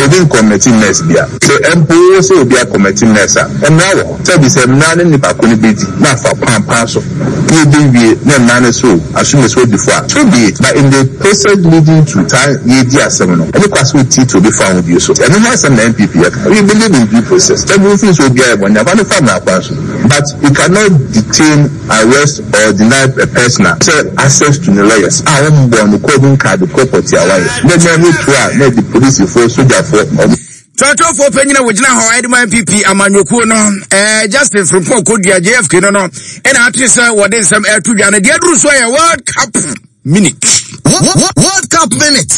Speaker 12: Obi ncommit mess bia. Sɛ mpo wo sɛ obi acommit mess a, mmara wɔ hɔ. Sɛbi sɛ mmara ne nipa ko no bɛdi na afa kwan paa so na ɛbɛwie na mmara no so assume sɛ odi fo a, so be it. But in the process leading to saa yɛdi asɛm no, ɛne kwa sɛ wotiitii obi fa ho bio so. Ɛno ho asɛm na N P P yɛka. We believe in due process. Sɛ bi wofii sɛ obi ayɛ bɔne a, fa no fa mmara kwan so. But you cannot detain, arrest or deny a person a sɛ access to ne lawyers a wɔmbɔ no kɔ bi nka ade kɔ pɔte a wayɛ. Na ɛnyɛ no to a na ɛde polisifoɔ, sogyafoɔ, ɔmo
Speaker 1: Twerɛtwerɛfoɔ panyin a wɔgyina hɔ ɛde ma N P P amanyɔkuo no, ɛɛ Justin Frimpong Kodua, J F K no no ɛna ate sɛ wɔde nsɛm ɛto dwa no. Deɛ aduru so yɛ World Cup Minute.
Speaker 18: World Cup Minute.